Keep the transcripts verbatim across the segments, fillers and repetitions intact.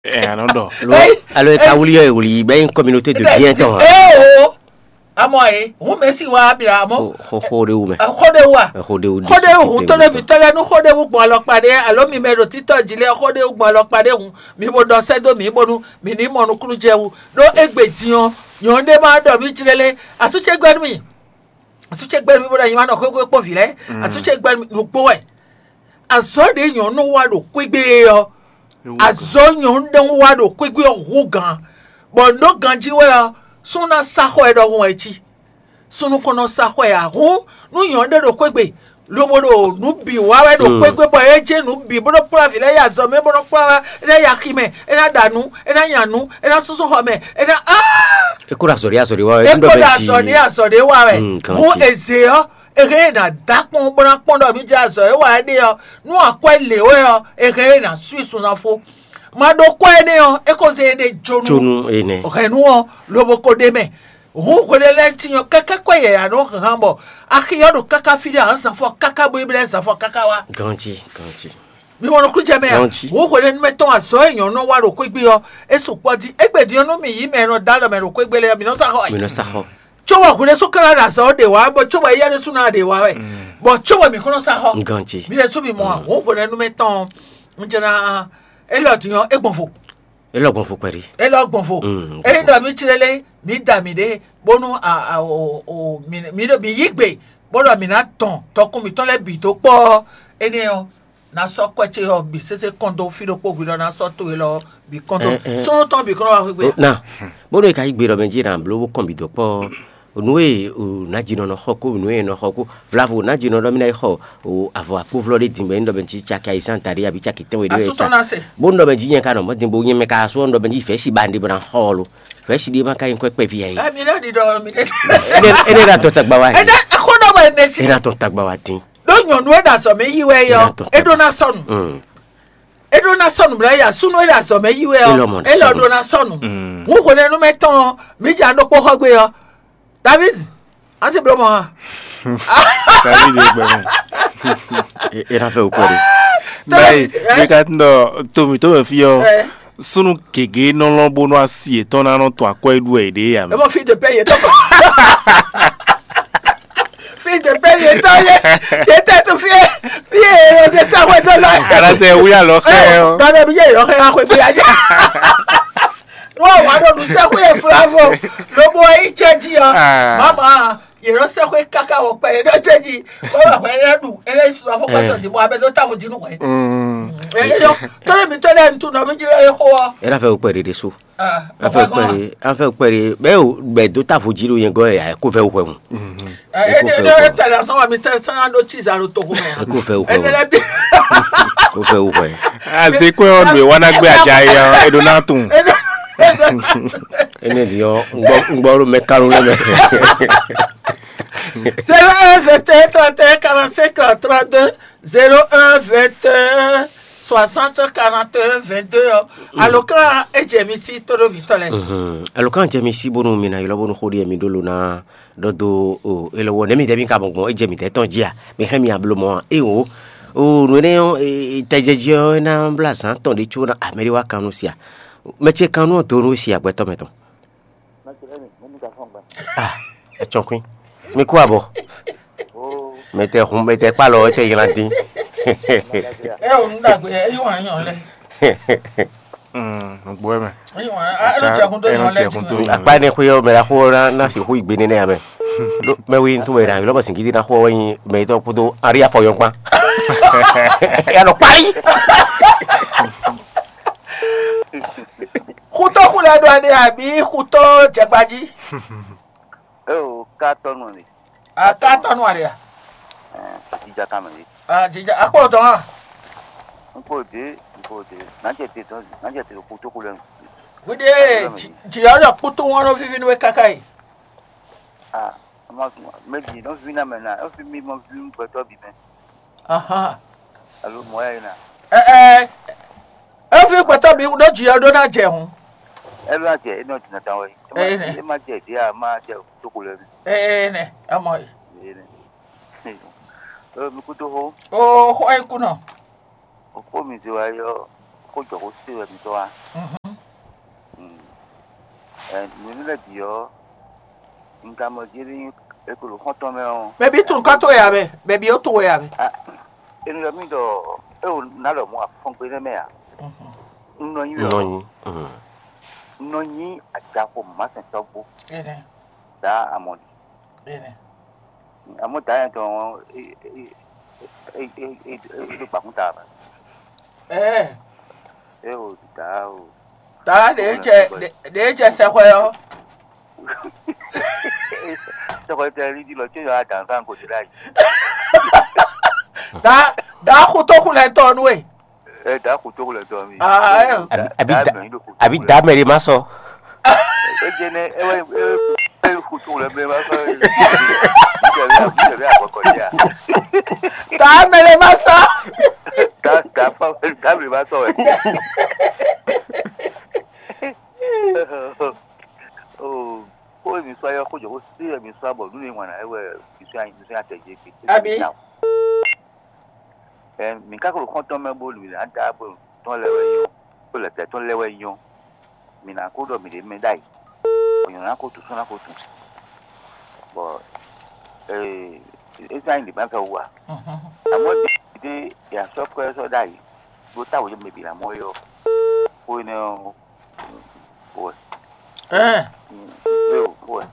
Ɛ a nɔ ɖɔ. Lo, alo e ka wuli ɔ́ e wuli bɛ nyí communauté de bien tɔn hã. Ee o, amɔ e, hun mɛ si wa abira amɔ. Xo xo ɖe wu mɛ. Xo ɖe wa. Xo ɖe wu. Xo ɖe wu hun tɔn ɖe mi tɔn lɛ nu xo ɖe wu gbɔn alɔkpa ɖe alo mi mɛ ɖo titɔ ji lɛ xo ɖe wu gbɔn alɔkpa ɖe hun mi bo ɖɔ sɛ do mi bonu mi ní mɔ nukúnnú jɛ wu ɖo egbe din ɔ nyɔ̌nu ɖe ma ɖɔ mi jlélé asú ce gbɛ́ nú mi. Asú ce gbɛ́ nú mi bó ɖo anyi ma nɔ xwéxwé kpó vǐ lɛ́ɛ. Asú ce gbɛ́ nú mi nukpó wɛ. Azɔ̌ ɖě nyɔ̌nu wa ɖo xwégbé é ɔ́, azɔ̌ nyɔ̌nu ɖé wa ɖo xwégbé ɔ́ hú gǎn, bɔ nǔ ɖó ganjí wɛ ɔ́, súnnu ná sá xɔ ɛ ɖɔhun wɛ cí. Súnnu kɔn nɔ sá xɔ ɛ ǎ. Hǔn nú nyɔ̌nu ɖé ɖo xwégbé, lobo ɖo nǔ bǐ wa wɛ ɖo xwégbé bɔ é jɛ nǔ bǐ bó nɔ kplá vǐ lɛ́ɛ yi azɔ̌ mɛ bó nɔ kplá wá é ná yi axi mɛ, é ná ɖa nǔ, é ná nya nǔ, é ná súnsún xɔ mɛ, é ná áá. É kó ɖo azɔ̌ ɖé azɔ̌ ɖé wa wɛ. É kó ɖo azɔ̌ ɖé azɔ̌ ɖé wa wɛ. Hǔn eze ɔ́, é hɛn é ná dó akpɔ́n bó ná kpɔ́n ɖɔ mǐ jɛ azɔ̌ e wa é ɖe ɔ́, nú akwɛ́ lě wɛ ɔ́, é hɛn é ná sú i sunzán fó. Ma ɖo kwɛ́ énɛ́ ɔ́, é ko zé éɖée jó nú Jónú énɛ́. Hɛ̌nnu ɔ́, lobo ko ɖ'é mɛ. Hǔn hwelélɛ́tín ɔ́, kɛ́kɛ́ kwɛ́ yɛ̌yɛ́ nɔ hán bɔ axi ɔ́ ɖo káká fí ɖé ǎ, zǎnfɔ káká bó yi blɛ́ zǎnfɔ káká wá. Ganjí, ganjí. Mi mɔ nukúnnú jɛ mɛ a? Ganjí. Hǔn hwelɛ́númɛ tɔn azɔ̌ e nyɔ̌nu nɔ wa ɖo xwégbé ɔ́, é sukpɔ́ jí. Égbé din ɔ́, nú mǐ yí mɛ e nɔ dó alɔ mɛ ɖo xwégbé lɛ́ɛ ɔ́, mǐ nɔ sá xɔ wɛ. Mi nɔ sá xɔ. Cóbɔ hwelɛ́sú ka ná ɖo azɔ̌ ɔ́ ɖe wǎ, bɔ cóbɔ éyɛ́ ɖésú ná ɖe wǎ wɛ, bɔ cóbɔ mǐ kún nɔ sá xɔ. Ganjí. Mi ɖésú mi mɔ a? Hǔn hwelɛ́númɛ tɔn ɔ́, un jɛ ná élɔ́ din ɔ́, é gbɔn vo. É lɔ gbɔn vo kpɛɖé. É lɔ gbɔn vo. Mm, ényí ɖɔ mǐ tlélé, mǐ da mǐɖée, bónú a- a- o- o- mǐ mǐ ɖo- mǐ yí gbe, bó ɖɔ mǐ ná dɔn tɔkun mǐtɔn lɛ́ɛ bǐ dó kpɔ́ ɔ́, énɛ́ ɔ́, ná sɔ́ kwɛ́ ce ɔ́ bǐ sésé kɔn dó fí ɖokpó hwi ɖɔ ná sɔ́ to élɔ́ ɔ́ bǐ kɔn dó. Ɛ, ɛ. Súnnu tɔn bǐ kɔn nɔ wá xwé gbe. Na, bónú è ka yí gbe ɖɔ mɛ jí è nǎ bló bó kɔn bǐ dó kpɔ́ nǔ e nǎjínɔ nɔ xɔ kó nǔ e è nɔ xɔ kó vlavo nǎjínɔ ɖɔ mí ná yi xɔ avɔ akpóvlɔ ɖé din bɔ é ní ɖɔ mɛ jí caki ayizán taɖé abǐ caki tɛ́nwe ɖé wɛ Asútɔ sa ná se. Bónú ɖɔ mɛ jí nyɛ ka nɔ mɔ̌ din bo nyɛ mɛ ka sú ɔ́ ɖɔ mɛ jí vɛ̌si ba ɖé bɔ ná xɔ ɔ́ lo. Vɛ̌si ɖé ma ka nyí kwɛ́ kpɛví ɛ é. Ɛ, mi ná ɖi ɖɔ mi ɖe. Énɛ́ énɛ́ ná tɔn tagba wá Ɛ dín. Ná xó ɖɔ bɔ ene si. É ná tɔn tagba wá dín. Ɖó nyɔ̌nu e ɖo azɔ̌ mɛ yí wɛ é ɔ́, Ná tɔn é ɖó ná sɔnu. Mm. É ɖó ná sɔnu mlɔ́ ya súnú e ɖo azɔ̌ mɛ yí wɛ É lɔ mɔ ɔ́, ná é lɔ sɔnu. Ɖó ná sɔnu. Mm. Hǔn hwelɛ́númɛ tɔn ɔ́, mǐ jɛ ɖokpó xɔ gbe ɔ́. David, asi bló mɔ hã. David e gbɛ mɛ. É é ná fẹ́ wò kpɛɖé. Báyìí, David, ɛ? Bí ká tún ɖɔ tomi tó mɛ fí ɔ́, Ɛ. Súnnu gěgé nɔ lɔn bónú asi yětɔn ná nɔ tɔn akwɛ́ ɖu wɛ yě ɖe yě ǎ mɛ. Ebo fi de pɛ yě tɔ kɔ. Fi de pɛ yě tɔ yé yě tɛ to fi fi yé yé yé sɛ wɛ dɔ lɔ. Alatɛ wí alɔ xɛ ɔ. Dɔdɔ bi yé yɔ xɛ axwe fi adza. Wọ́n wà lónú sẹ́kù yẹn fúláfò ló bó yí jẹ́ jí ọ. Ah. Màmá yèrò sẹ́kù yẹn káká wọ pẹ́ yẹn ló jẹ́ jí. Wọ́n wà pẹ́ yẹn dùn ẹlẹ́yìn sùn afọ́kọ́tọ̀ ní bọ́ abẹ́ tó táwọn jínú wẹ̀. Mm. Ẹ̀yọ́ tọ́lẹ̀ mi tọ́lẹ̀ ń tún nọ mí jí lọ́yẹ́ kó wọ́. Ẹ náà fẹ́ wò pẹ́ ɖeɖe so. Ah, An fẹ́ papa pẹ́ gan. Ɖe an fẹ́ pẹ́ ɖe bẹ́ẹ̀ o bɛ dó távo jí ɖo yẹn gɔ́ ɛ kó fẹ́ wò hwɛ mu. Mhm. Ẹ Ẹ kó ẹ fẹ́ ẹ wò hwɛ mu. Tẹ̀lé asán wa mi tẹ sán ɖó tsi zan ɖo togo mɛ a. Ẹ kó fẹ́ wò hwɛ Ẹ mu. Nɛlɛ bi. Kó fẹ́ wò hwɛ. Azekwe ɔnu e wana gbe adza yi ɔ eɖo na tun. Ene di ɔ ŋgbɔ ŋgbɔ ɖo mɛ kanu lɛ mɛ. Zéro un vingt et un trente et un quarante-cinq trente-deux, zéro un vingt et un soixante quarante et un vingt-deux ɔ. Alɔkan ejɛ mi si tóɖó mi tɔ lɛ. Mhm. Alɔkan jɛ mi si bónú mi na ylɔ bónú xó ɖi mi ɖó lo na ɖɔ do o elɔ wɔ nɛ mi tɛ mi ka bɔn gbɔn ejɛ mi tɛ tɔn dzi a mi xɛ mi ablo mɔ a e o o nu enɛ ɔ tɛjɛjɛ ɔ na bla zan tɔn ɖe tso na amɛ ɖe wa kan nu sia mɛ ce kan nu ɔ do nu si agbɛtɔ mɛ tɔn. Ah, etsɔkui. Mi kú abɔ. Mɛ tɛ hun mɛ tɛ kpalɔ etsɛ ylan dín. Ɛ o nu ɖagbe ɛ yí wàn yàn lɛ. Nugbo ɛ mɛ. Yí wàn ɛ ló jɛ kun tó yàn lɛ dín. Akpa ne xwe yɔ mɛ la xo na na si xo igbe ne ne amɛ. Mɛ wi ntú wɛ na yɔ lɔbɔ singidi na xo wɛ nyi mɛ tɔ kudo ari afɔ yɔ kpa. Ya nɔ kpali. Xutɔ xulɛ ɖo ɛɖe abi xutɔ jɛgbaji. Eo ka tɔnu le. A ka tɔnu ale a? Jija kan mɛ le. A jija akpɔ dɔn a? N ko de, n ko de. Nanjɛ te dɔn, nanjɛ te xutɔ xulɛ. Wede jiyɔ ɖɔ kputu ŋɔnɔ vivi nu kaka yi. Ah, ma mɛ bi nɔ vi na mɛ na, efi mi mɔ vi gbɛtɔ bi mɛ. Ahan. Alo mɔ ya yina. Ɛ ɛ. Efi gbɛtɔ bi ɖo jiyɔ ɖo na jɛ hun. Elo na jɛ enɔ dina dan wɛ. Ɛ ne. E ma jɛ dia ma jɛ toko lɛ. Ɛ ne. Amɔ yi. E ne. E mi kudo ho. O ho e kunɔ. O ko mi de wa yɔ. Xó jɔ xó sé wɛ mitɔ́ wá. Nǔ lɛ́ɛ bǐ ɔ́, un ka mɔ jí ní e ko ɖo xɔ́ntɔn mɛ ɔ́. Mɛ bǐ tunwun kɔ́ towe ya mɛ, mɛ bǐ ó tunwun wɛ ya mɛ. Enu lɔ mì ɖɔ é o ná ɖɔ mɔ afɔngbe nɛ́ mɛ ǎ. Un nɔ nyi wɛ Nɔ ɔ́, nyi. Un nɔ nyi ajaxo mǎsɛntɔ́ gbó. Énɛ́, Dǎ amɔ̌ ɖi. Énɛ́. Amɔ̌ dǎ nyɛ tɔn ɔ́, é é é é é é ɖo gbǎkún ta mɛ. Ɛɛ, É o dǎ o. Dǎ ɖě jɛ ɖě jɛ sɛxwɛ ɔ́. Sɛxwɛ tɛ lídí lɔ tso yɔ adǎn kan kò dé ɖ'ayǐ. Dǎ dǎ xutó xulɛtɔ nú we. Ɛ dǎ xutó xulɛtɔ mi. Ah, ɛ. Àbí àbí Dǎ da mɛ yín ɖo xutó àbí xulɛ. Da mɛ ɖé má sɔ. É jẹ nɛ é wɛ é wɛ xutó xulɛ mɛ má sɔ. Ìjẹ̀bí ìjẹ̀bí àkọ́kọ́ díà. Dǎ mɛ ɖé má sɔ. Dǎ dǎ fáwọn dǎ mɛ má sọ wɛ. Oh, xó e mi sɔ yɔ xó jɔ xó sí e mi sɔ bɔ nú ni ŋwana é wɛ mi sɔ mi sɔ atɛ jɛ gbe. Abi. Ɛ mi ka ko xɔntɔn mɛ bo lu na da bo tɔn lɛ wɛ yɔ, bo lɛ tɛ tɔn lɛ wɛ yɔ. Mi na ko ɖɔ mi ɖe mɛ ɖ'ayǐ. Bɔ nyɔ̌nu na ko tu sún na ko tu. Bɔ ee ezan yi lǐbán fɛ wú a? Amɔ̌ ɖe ɖe ya sɔ́ kɔ ɛ sɔ́ ɖ'ayǐ ɖó táwǔ yě mɛ bǐ ná mɔ é ɔ́, xó énɛ́ ɔ́ wɛ. Ɛɛ. Yo wɛ.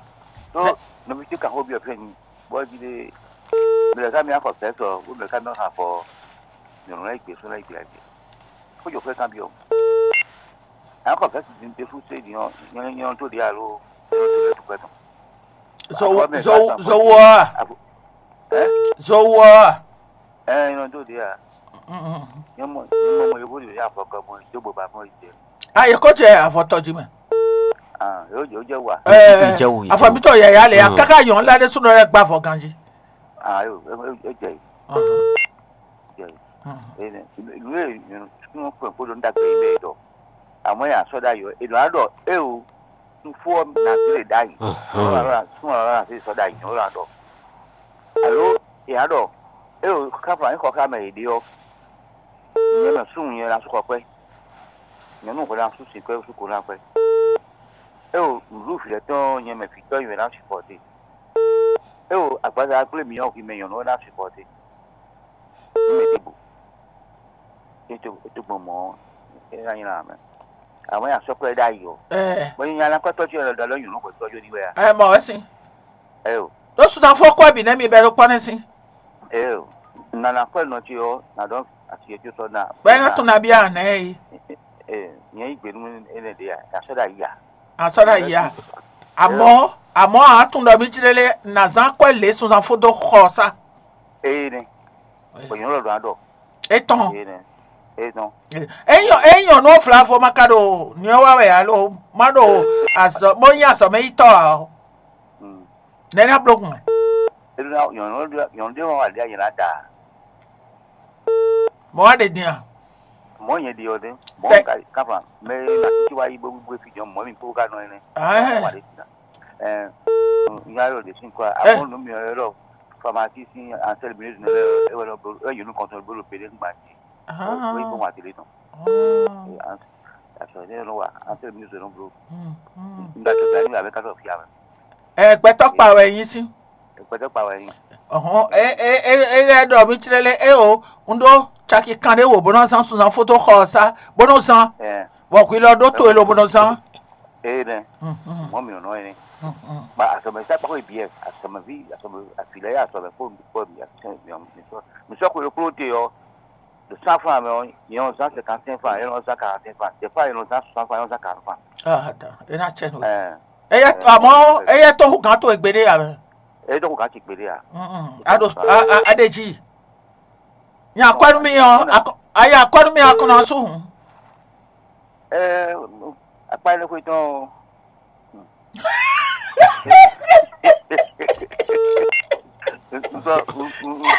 Tó nɔví ce kan xó byɔ́ fɛ́ nyi bɔ jí ɖe mɛ lɛ ká mi axɔ fɛ́ sɔ bó mɛ ká mi xɔ afɔ nyɔ̌nu lɛ́ɛ gbe sún lɛ́ɛ gbe agbe. Xó jɔ xó kan byɔ́. Axɔ fɛ́ sin ɖe fú sé din ɔ́ nyɔ́ nyɔ́ tó ɖe alo nyɔ́ tó lɛ tukpɛ tɔn. Zowo zowo a? Zowo a? Ɛ nyɔ́ tó ɖe a? Nyɔ́ mɔ nyɔ́ mɔ yókù ɖe afɔ kɔ mɔ dó gbogbo afɔ yi jɛ. A yě kó jɛ avɔtɔ jí mɛ. Ah, yóò jẹ́ wà. Ɛ Ìjẹwù, Ìjẹwù. Afɔbítɔ yɛyɛ lɛ ya káká yɔn ńlá ɖé súnɔ lɛ gbá vɔ ganjí. Ah, yóò é jẹ́ yìí. Jẹ́ yìí. Ìlú yìí súnmọ́ pẹ̀ kó ló ń dàgbé ilé ìdọ̀. Àmọ́ yà sọ́dá yọ èlò àádọ́ é o. Fún ọ nà sí lè dá yìí. Súnmọ́ ọ̀rọ̀ àti sọ́dá yìí ó là dọ̀. Àló ìyá dọ̀ é o káfà ní kọ̀ọ̀ká mẹ́ èdè ọ́. Ìyẹn mẹ́ súnmù yẹn lásùkọ̀ pẹ́. Nyɔ̌nu hwɛ ná sú sin kwɛ́ sú ko ná kwɛ́. É o nǔɖuɖu vǐ lɛ́ɛ tɔn nyɛ mɛ vǐ tɔ́ nyi wɛ ná supɔ́te. É o agbaza gblé mǐ ɔ́ hwi mɛ nyɔ̌nu wɛ ná supɔ́te. Nú mɛ ɖěbǔ. É tó é tó gbɔn mɔ̌ ɔ́, é ná nyí lan mɛ. Amɔ̌ nyi asɔ́kplɔ́ ɖ'ayǐ ɔ́. Bɔ nyi nyalákɔ́tɔ́ ce lɔ ɖɔ nyɔ̌nu hwɛtɔ́ jó ní wɛ a? Ɛ mɔ wɛ sín. Ɛ o. Ɖó sudan fɔ kɔ bǐ nɛ́ mi bɛ ɖo kpɔ́ nɛ́ sín. Ɛ o. Nana kɔ nɔ ce ɔ́, nà ɖɔ asi e tó sɔ ná. Bɔ é ná tún nabí àná ɛ yi. Ɛ nyɛ yí gbě nú énɛ́ ɖě a, yà sɔ́ ɖ'ayǐ a? Asɔ́ ɖ'ayǐ a? Àmọ́ àmọ́ àá tún ɖɔ mí jlé lé nà zán kɔ lě sunzan fó dó xɔ sá. Eye nɛ. Bɔ nyɔ̌nu lɔ ɖɔ ná ɖɔ. Etɔn. Eye nɛ. Eye tɔn. Eyɔ eyɔ nɔ vlavo ma ka ɖo nyɔ wa wɛ alo ma ɖo azɔ mo nyi azɔ mɛ yi tɔ a o. Mm. Nɛ na bló kun. Eɖo na nyɔ̌nu ɖe nyɔ̌nu ɖe wɔn wà ɖe anyɛ na da. Mɔ wa ɖe din a? Mɔ nyɛ ɖi ɔ ɖe. Mɔ Tɛ- ka kafa mɛ na titi wa yi bó gbé fi jɔ mɔ mi kpó ka nɔ ɛnɛ. Ahɛn. Wa ɖe sin na. Ɛ nya yɔ ɖe sin kɔ. Ɛ. Amɔ nu mi yɔ lɔ famasi sin ansɛl mi ne e wɛ lɔ bolo e yonu kɔntɔn bolo bele ngba ti. Ah. Wei bɔn wa tele nɔ. Ah. Asɔ ne nɔ wa ansɛl mi zɔ nɔ bolo. Mm, mm. N da tɔ da ni wa bɛ ka tɔ fia mɛ. Ɛ gbɛtɔ kpa wɛ nyi sín. Gbɛtɔ kpa wɛ nyi. Ɔhɔn, e e e e lɛ ɖɔ mi tlɛ lɛ e o, un ɖó caki kan ɖé wò bó nɔ zán sunzan fótó xɔ ɔ́ sá, bó nɔ zán. Ɛ. Bɔ hwi lɔ ɖó to e lo bó nɔ zán. Ee nɛ. Mhm. Mɔ mi nɔ ene. Mhm. Ba asɔmɛ sa kpɔkɔ ibi ɛ, asɔmɛ vi asɔmɛ afi lɛ ya asɔmɛ kpɔ kpɔ mi asɔmɛ mi mi sɔ mi sɔ kolo kolo te yɔ. De cent francs mɛ ɔ, yɛn ɔ zan cinquante cinq francs, yɛn ɔ zan quarante cinq francs, des fois yɛn ɔ zan soixante francs, yɛn ɔ zan quarante francs. Ah, attends, e na cɛ no. Ɛ. Eye amɔ eye to hu gan to egbe ɖe ya mɛ. Eye to hu gan ti gbe ɖe ya. Mm. Ado a a a de ji. Nya kɔnu mi ɔ akɔ aya kɔnu mi akɔnɔ asu hun. Ɛ akpa ele ko tɔn. Nsɔ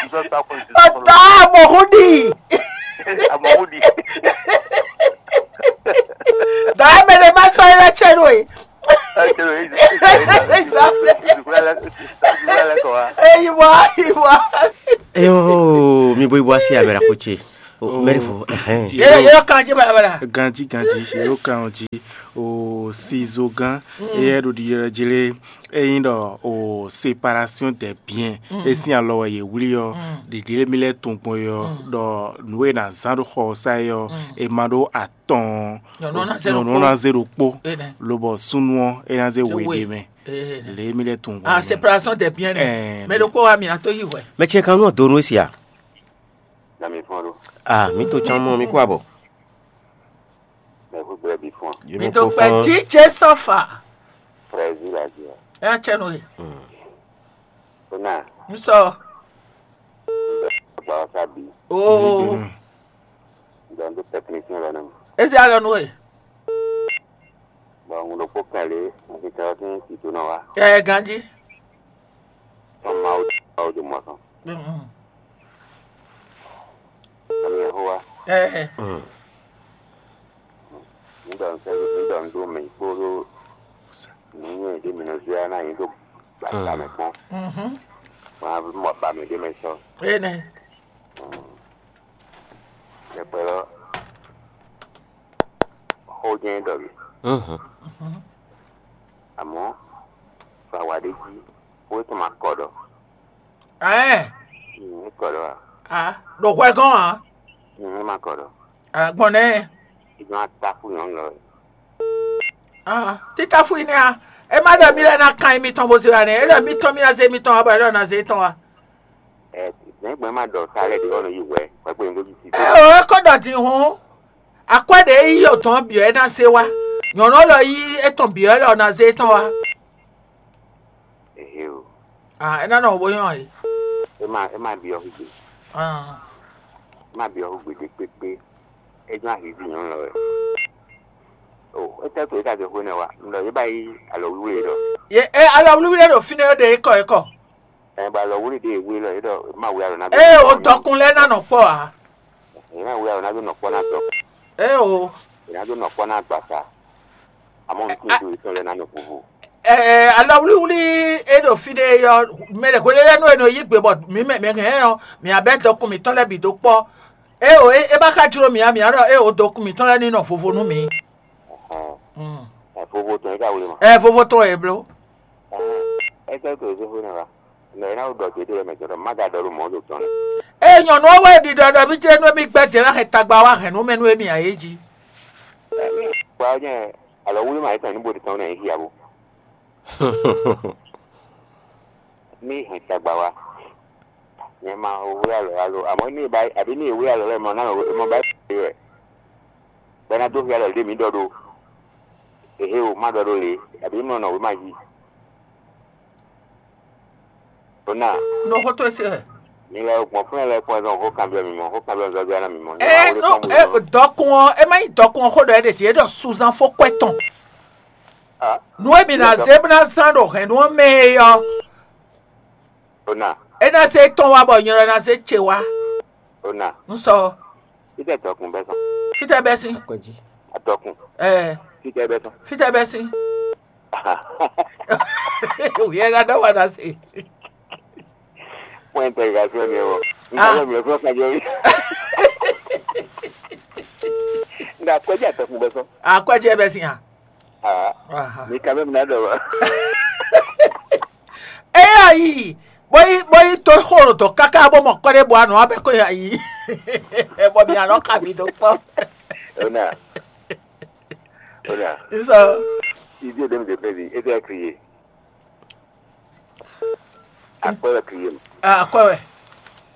nsɔ ta ko nsɔ. Ɔtá amɔhudi. Amɔhudi. Dàá mɛ ɖe má sɔ ilé tsɛ ɖo e. Eyi wa eyi wa. Eyo mi bo ibo asi amɛ la ko tse. Mɛri fo. Hɛn. Yɛ yɛ kan jí balabala. Ganji ganji yɛ kan jí o sizo gan eyɛ ɖo ɖiɖɔ jlé eyin ɖɔ o séparation des biens e sín alɔ wɛ yě wlí ɔ́, ɖiɖi e mì lɛ́ tunwun gbɔn é ɔ́, ɖɔ nǔ e è nǎ zán ɖó xɔ ɔ́ sá é ɔ́, è ma ɖó atɔn nyɔ̌nu ná zé ɖokpó, lobɔ súnnu ɔ́ é ná zé we ɖé mɛ. Lě e mì lɛ́ tunwun gbɔn. Ah, séparation des biens nɛ. Mɛ ɖokpó wa mì ná tó yi hwɛ. Mɛ ce kan nú ɔ́ donu e sia. Na mi fɔn ɖo. Ah, mí to can mɔ mí kó abɔ. Mɛ hu gblɛ bi fɔn. Mi to kpɛ jíjɛ sɔfa. Frère Zila Zila. Ɛ tsɛ no ye. Ó nà. N sɔ. Gba ɔsa bi. Oo. N dɔ n do technicien lɔ nɛ mɔ. Ezi alɔ nu ye. Bɔn ŋun ɖokpó kɛn lě n ti tɛ ɔ́ sín tito nɔ wá. Ɛ ganji. Sɔn Mawu Mawu do mɔ sɔn. Ami Yehowa. Ɛ. Mm. N dɔ n sɛ n dɔ n do mɛ kpódó nǔnywɛ́ ɖé mi nɔ zé ná yín dó gbàgbà mɛ kpɔ́n. Mhm. Wọn á mɔ ba mɛ ɖé mɛ sɔ. Ene. Ɖɛkpɛ lɔ xó jɛ́n ɖɔ mì. Mhm. Amɔ̌, fa wa ɖé jí, xó étɔn ma kɔ ɖɔ. Ɛɛ. Mm, é kɔ ɖɔ a? A ɖo hwɛ gɔn a? Mm, é ma kɔ ɖɔ. A gbɔn nɛ. Ìgbọ́n atáfù yàn lọ. A títáfù yìí ni a. E ma ɖɔ mi lɛ na kan mi tɔn bo se wa nɛ. E ɖɔ mi tɔn mi na se mi tɔn wa bɔ e ɖɔ na se tɔn wa. Ɛ, nɛgbɛ ma ɖɔ sa lɛ ɖe ɔnɔ yi hwɛ, hwɛ kpe ŋgó yi si. Ɛ o, e kɔ ɖɔ din hɔn. Akwɛ ɖe yi yɔ tɔn biɔ e na se wa. Nyɔnɔ lɔ yi etɔn biɔ e lɔ na se tɔn wa. Ehe o. Ah, e na nɔ wo nyɔ yi. E ma e ma biɔ hugbe. Ah. E ma biɔ hugbe ɖe kpekpe. E jɔ ahivi nyɔnɔ lɔ wɛ. O, e tɛ to e ka se hwe nɛ wa. Ndɔ ye ba yi alɔ wiwe ɖɔ. Ye e alɔ wiwe ɖo fine ɖe e kɔ e kɔ. Ɛ ba lɔ wuli ɖe wuli lɔ yedɔ ma wuli alɔ na. Ee o dɔkun lɛ na nɔ kpɔ a. Yena wuli alɔ na do nɔ kpɔ na dɔ. Ee o. Yena do nɔ kpɔ na gbasa. Amɔ n tun do itɔn lɛ na nɔ vovo. Ɛɛ alɔ wuli wuli e ɖo fi ɖe yɔ mɛ ɖe hwele lɛ nu e nɔ yi gbe bɔ mi mɛ mɛ hɛn yɔ mi abɛ dɔkun mi tɔn lɛ bi do kpɔ. Ee o e ba ka jlo mi a mi alɔ ee o dɔkun mi tɔn lɛ ni nɔ vovo nu mi. Ɛ vovo tɔn e ka wuli ma. Ɛ vovo tɔn e blo. Ɛ sɛ to zofo na wa. Mɛ na wo dɔ te de mɛ jɔ ma ga dɔ lo mɔ lo tɔn. Eye nyɔnu ɔ́ wɛ ɖiɖɔ ɖɔ mí jlé nú émí gbɛ́ dě ná hɛn tagba wá hɛn nú mɛ nú émí ǎ é jí. Gba ɔ́ nyɛ alɔ wúlú ma yě tɔn ní bóɖi tɔn nɛ yí hiabo. Ní hɛn tagba wá. Nyɛ ma wé alɔ alo àmọ́ ní ìbá àbí ní ìwé alɔ lɛ mɔ náà mɔ bá yí wɛ. Bɛ́ ná dó hialɔ lě mǐ ɖɔ ɖó. Ehe o, má ɖɔ ɖó lě, abǐ mlɔ nɔ wěma jí. Ona. Nɔ xó tó e se wɛ. Mi lɛ gbɔn fún ɛ lɛ kpɔn zɔn xó kanbyɔ mi mɔ, xó kanbyɔ zɔzɔɛ na mi mɔ. Ɛ nɔ ɛ dɔkun ɔ, ɛ má nyí dɔkun ɔ xó ɖɔ ɛ ɖe ti, é ɖɔ suzan fó kwɛ tɔn. Ah. Nu e mi na zé bó ná zán ɖo hɛ̌nnu ɔ́ mɛ é ɔ́. Ona. É ná zé tɔn wá bɔ nyɛ lɔ ná zé ce wá. Ona. Un sɔ. Fítɛ dɔkun bɛ́ sɔn. Fítɛ bɛ́ sín. Akɔjí. Adɔkun. Ɛɛ. Fítɛ bɛ́ sɔn. Fítɛ bɛ́ sín. Wíyɛ ná dɔ́ wá ná se. Pɔ́n ɛntɛgirasyon ni ɛ wɔ. N ka lɔ mi lɔ fún ɔkàn jọ mi. N ka kɔjí adɔkun bɛ́ sɔn. Akɔjí ɛ bɛ́ sín a. Ah. Aha. Mi ka mɛ mi ná dɔ wá. Eya yi. Bóyí bóyí tó xólo dɔ̌ káká bó mɔ kɔ́ɖé bɔ anɔ abɛ kó ya yi. Bɔ mi alɔ ka mi dó kpɔ. Ona. Ona. Nsɔ. Ibi ede mi de pɛ bi ede akriye. Akpɛ wɛ kriye mi. Akɔɛ wɛ.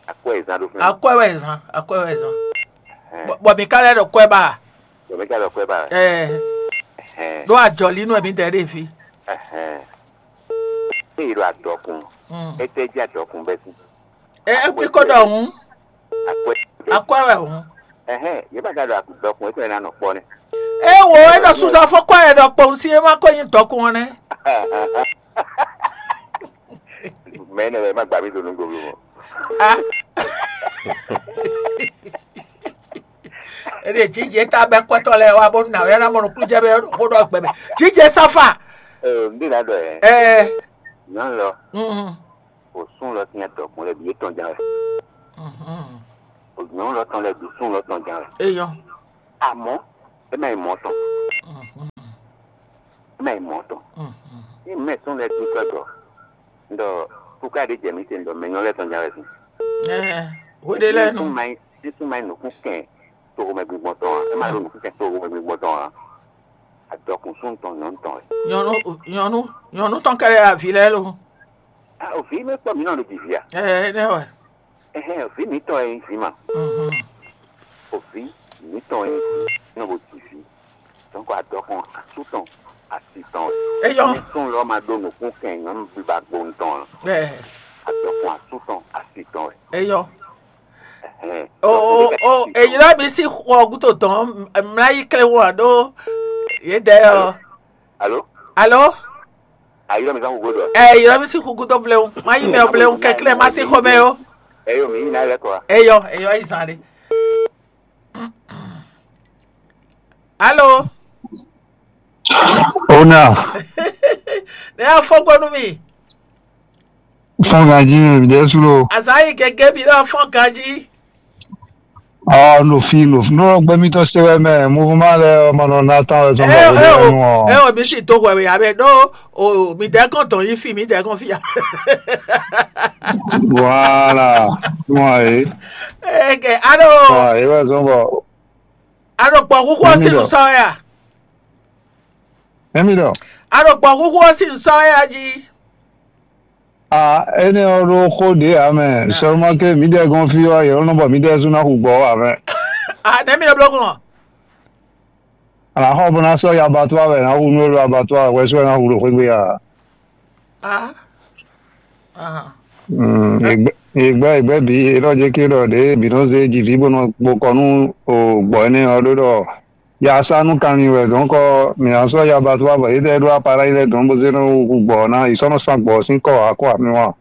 Akpɛ wɛ zan ɖo fún. Akɔɛ wɛ zan akɔɛ wɛ zan. Bɔ mi ka lɛ ɖo kɔɛ ba. Bɔ mi ka lɛ kɔɛ ba. Ɛɛ. Ɖo ajɔli nú ɛmi dɛ ɖe fi. Eye ɖo adɔkun. Etɛ jí adɔkun bɛ sí. Ɛ ɛ kpikɔ ɖɔ hun. Akpɛ. Akpɛ wɛ hun. Ɛhɛn, yé ma ka ɖo adɔkun etɛ na nɔ kpɔ nɛ. E wo e nɔ suzɔ fɔ kɔ yɛ ɖɔ kpɔn si e ma ko nyi dɔkun ɔ nɛ. Mɛ ne wɛ ma gba mi do nu gbogbo mɔ. Ah. Ede jije ta bɛ kpɛtɔ lɛ wa bonu na wɛ na mɔnu kujɛ bɛ ko dɔ gbɛ bɛ jije safa. Ee n de na dɔ yɛ. Ɛɛ. Nyɔnu lɔ. Mhm. O sun lɔ tiɲɛ dɔkun lɛ bi etɔn jan wɛ. Mhm. Nyɔ̌nu lɔ tɔn lɛ́ɛ ɖo súnnu lɔ tɔn ján wɛ. Eyɔn. Amɔ̌, é má nyí mɔ̌ tɔn. É má nyí mɔ̌ tɔn. Ní mɛ súnnu lɛ́ɛ dó tɔ́ jɔ, un ɖɔ, kuká ɖé jɛ mǐ te, un ɖɔ mɛ nyɔ̌nu lɛ́ɛ tɔn ján wɛ sín. Hweɖé lɛ́ɛ nu. Ní súnnu má nyí nǔkún kɛn toxomɛ gbígbɔn tɔn ǎ, é má ɖó nǔkún kɛn toxomɛ gbígbɔn tɔn ǎ. Adɔkun súnnu tɔn nyɔ̌nu tɔn wɛ. Nyɔ̌nu nyɔ̌nu nyɔ̌nu tɔn kɛ́ɖɛ́ avǐ lɛ́ɛ lo. Vǐ mɛ kpɔ́ mǐ nɔ ɖo jǐ vǐ a? Ɛ, énɛ́ wɛ. Ɛhɛn, vǐ mǐtɔn e nyí vǐ ma. Mhm. O vǐ mǐtɔn e nyí vǐ nɔ bo ji vǐ. Donc adɔkun asú tɔn asi tɔn wɛ. Eyɔ́. Ní súnnu lɔ ma ɖó nǔkún kɛn nyɔ̌nu biba gbonu tɔn ǎ. Ɛ, Adɔkun asú tɔn asi tɔn wɛ. Eyɔ́. Ɛhɛn. O o o èyí lɔ mi sí xɔ gúdo dɔn mlá yí klé wɔ ɖó yé dɛ ɔ. Alo? Alo? Ayi lɔ mi zan gbogbo dɔ. Ɛ yɔrɔ mi sí xú gúdo bléwu má yí mɛ ɔ bléwu kɛklɛ má sí xɔmɛ ó. Eyo mi yí ná lɛ kɔ. Eyɔ eyɔ yi zan ɖe. Alo? Ona. Ne y'a fɔ gbɔ nú mi. Fɔn ganji mi ɖe su lo. Azan yi gɛgɛ bi lɔ fɔn ganji. Ah, no fi no fi no gbɛ mi tɔ se wɛ mɛ mo ma lɛ ma nɔ na tan wɛ sɔn Ɛ bɔ o ɛ o ɛ o mi si do hwɛ wɛ ya bɛ ɖo o mi dɛ kɔn dɔn yi fi mi dɛ kɔn fi ya. Voilà. Mo ayi. Eke alo Ah, e wɛ zɔn bɔ alo gbɔ huhu ɔ si nu sɔ ya. Emi dɔ. Alo gbɔ huhu ɔ si nu sɔ ya ji. Ah, énɛ́ ɔ́ ɖó xó ɖě ǎ mɛ. Seulement que mǐdɛɛ gɔ́n fí ɔ́, yě nɔ bɔ mǐdɛɛ sú ná hu gbɔ ɔ́ ǎ mɛ. Ah, nɛ̌ mi nɔ bló gbɔn? Àlà xɔ bó ná sɔ́ yi abattoir wɛ ná hu nú é ɖo abattoir wɛ sú wɛ ná hu ɖo xwé gbe a? Ah. Ah. Ìgbẹ́ ìgbẹ́ bǐ é nɔ jẹ́ kí ɖɔ ɖě bǐ nɔ zé jivǐ bó nɔ gbo kɔ nú gbɔ̌ énɛ́ ɔ́ ɖó ɖɔ ya sá nú kanlin wɛ dɔ̌nkɔ mǐ ná sɔ́ ya ba tó wá bɔ yědɛɛ ɖó appareil lɛ́ɛ dɔn bó zé nɔ hu gbɔ̌ ná yi sɔ́ nɔ sán gbɔ̌ sín kɔ ǎ kɔ ǎ mi wá.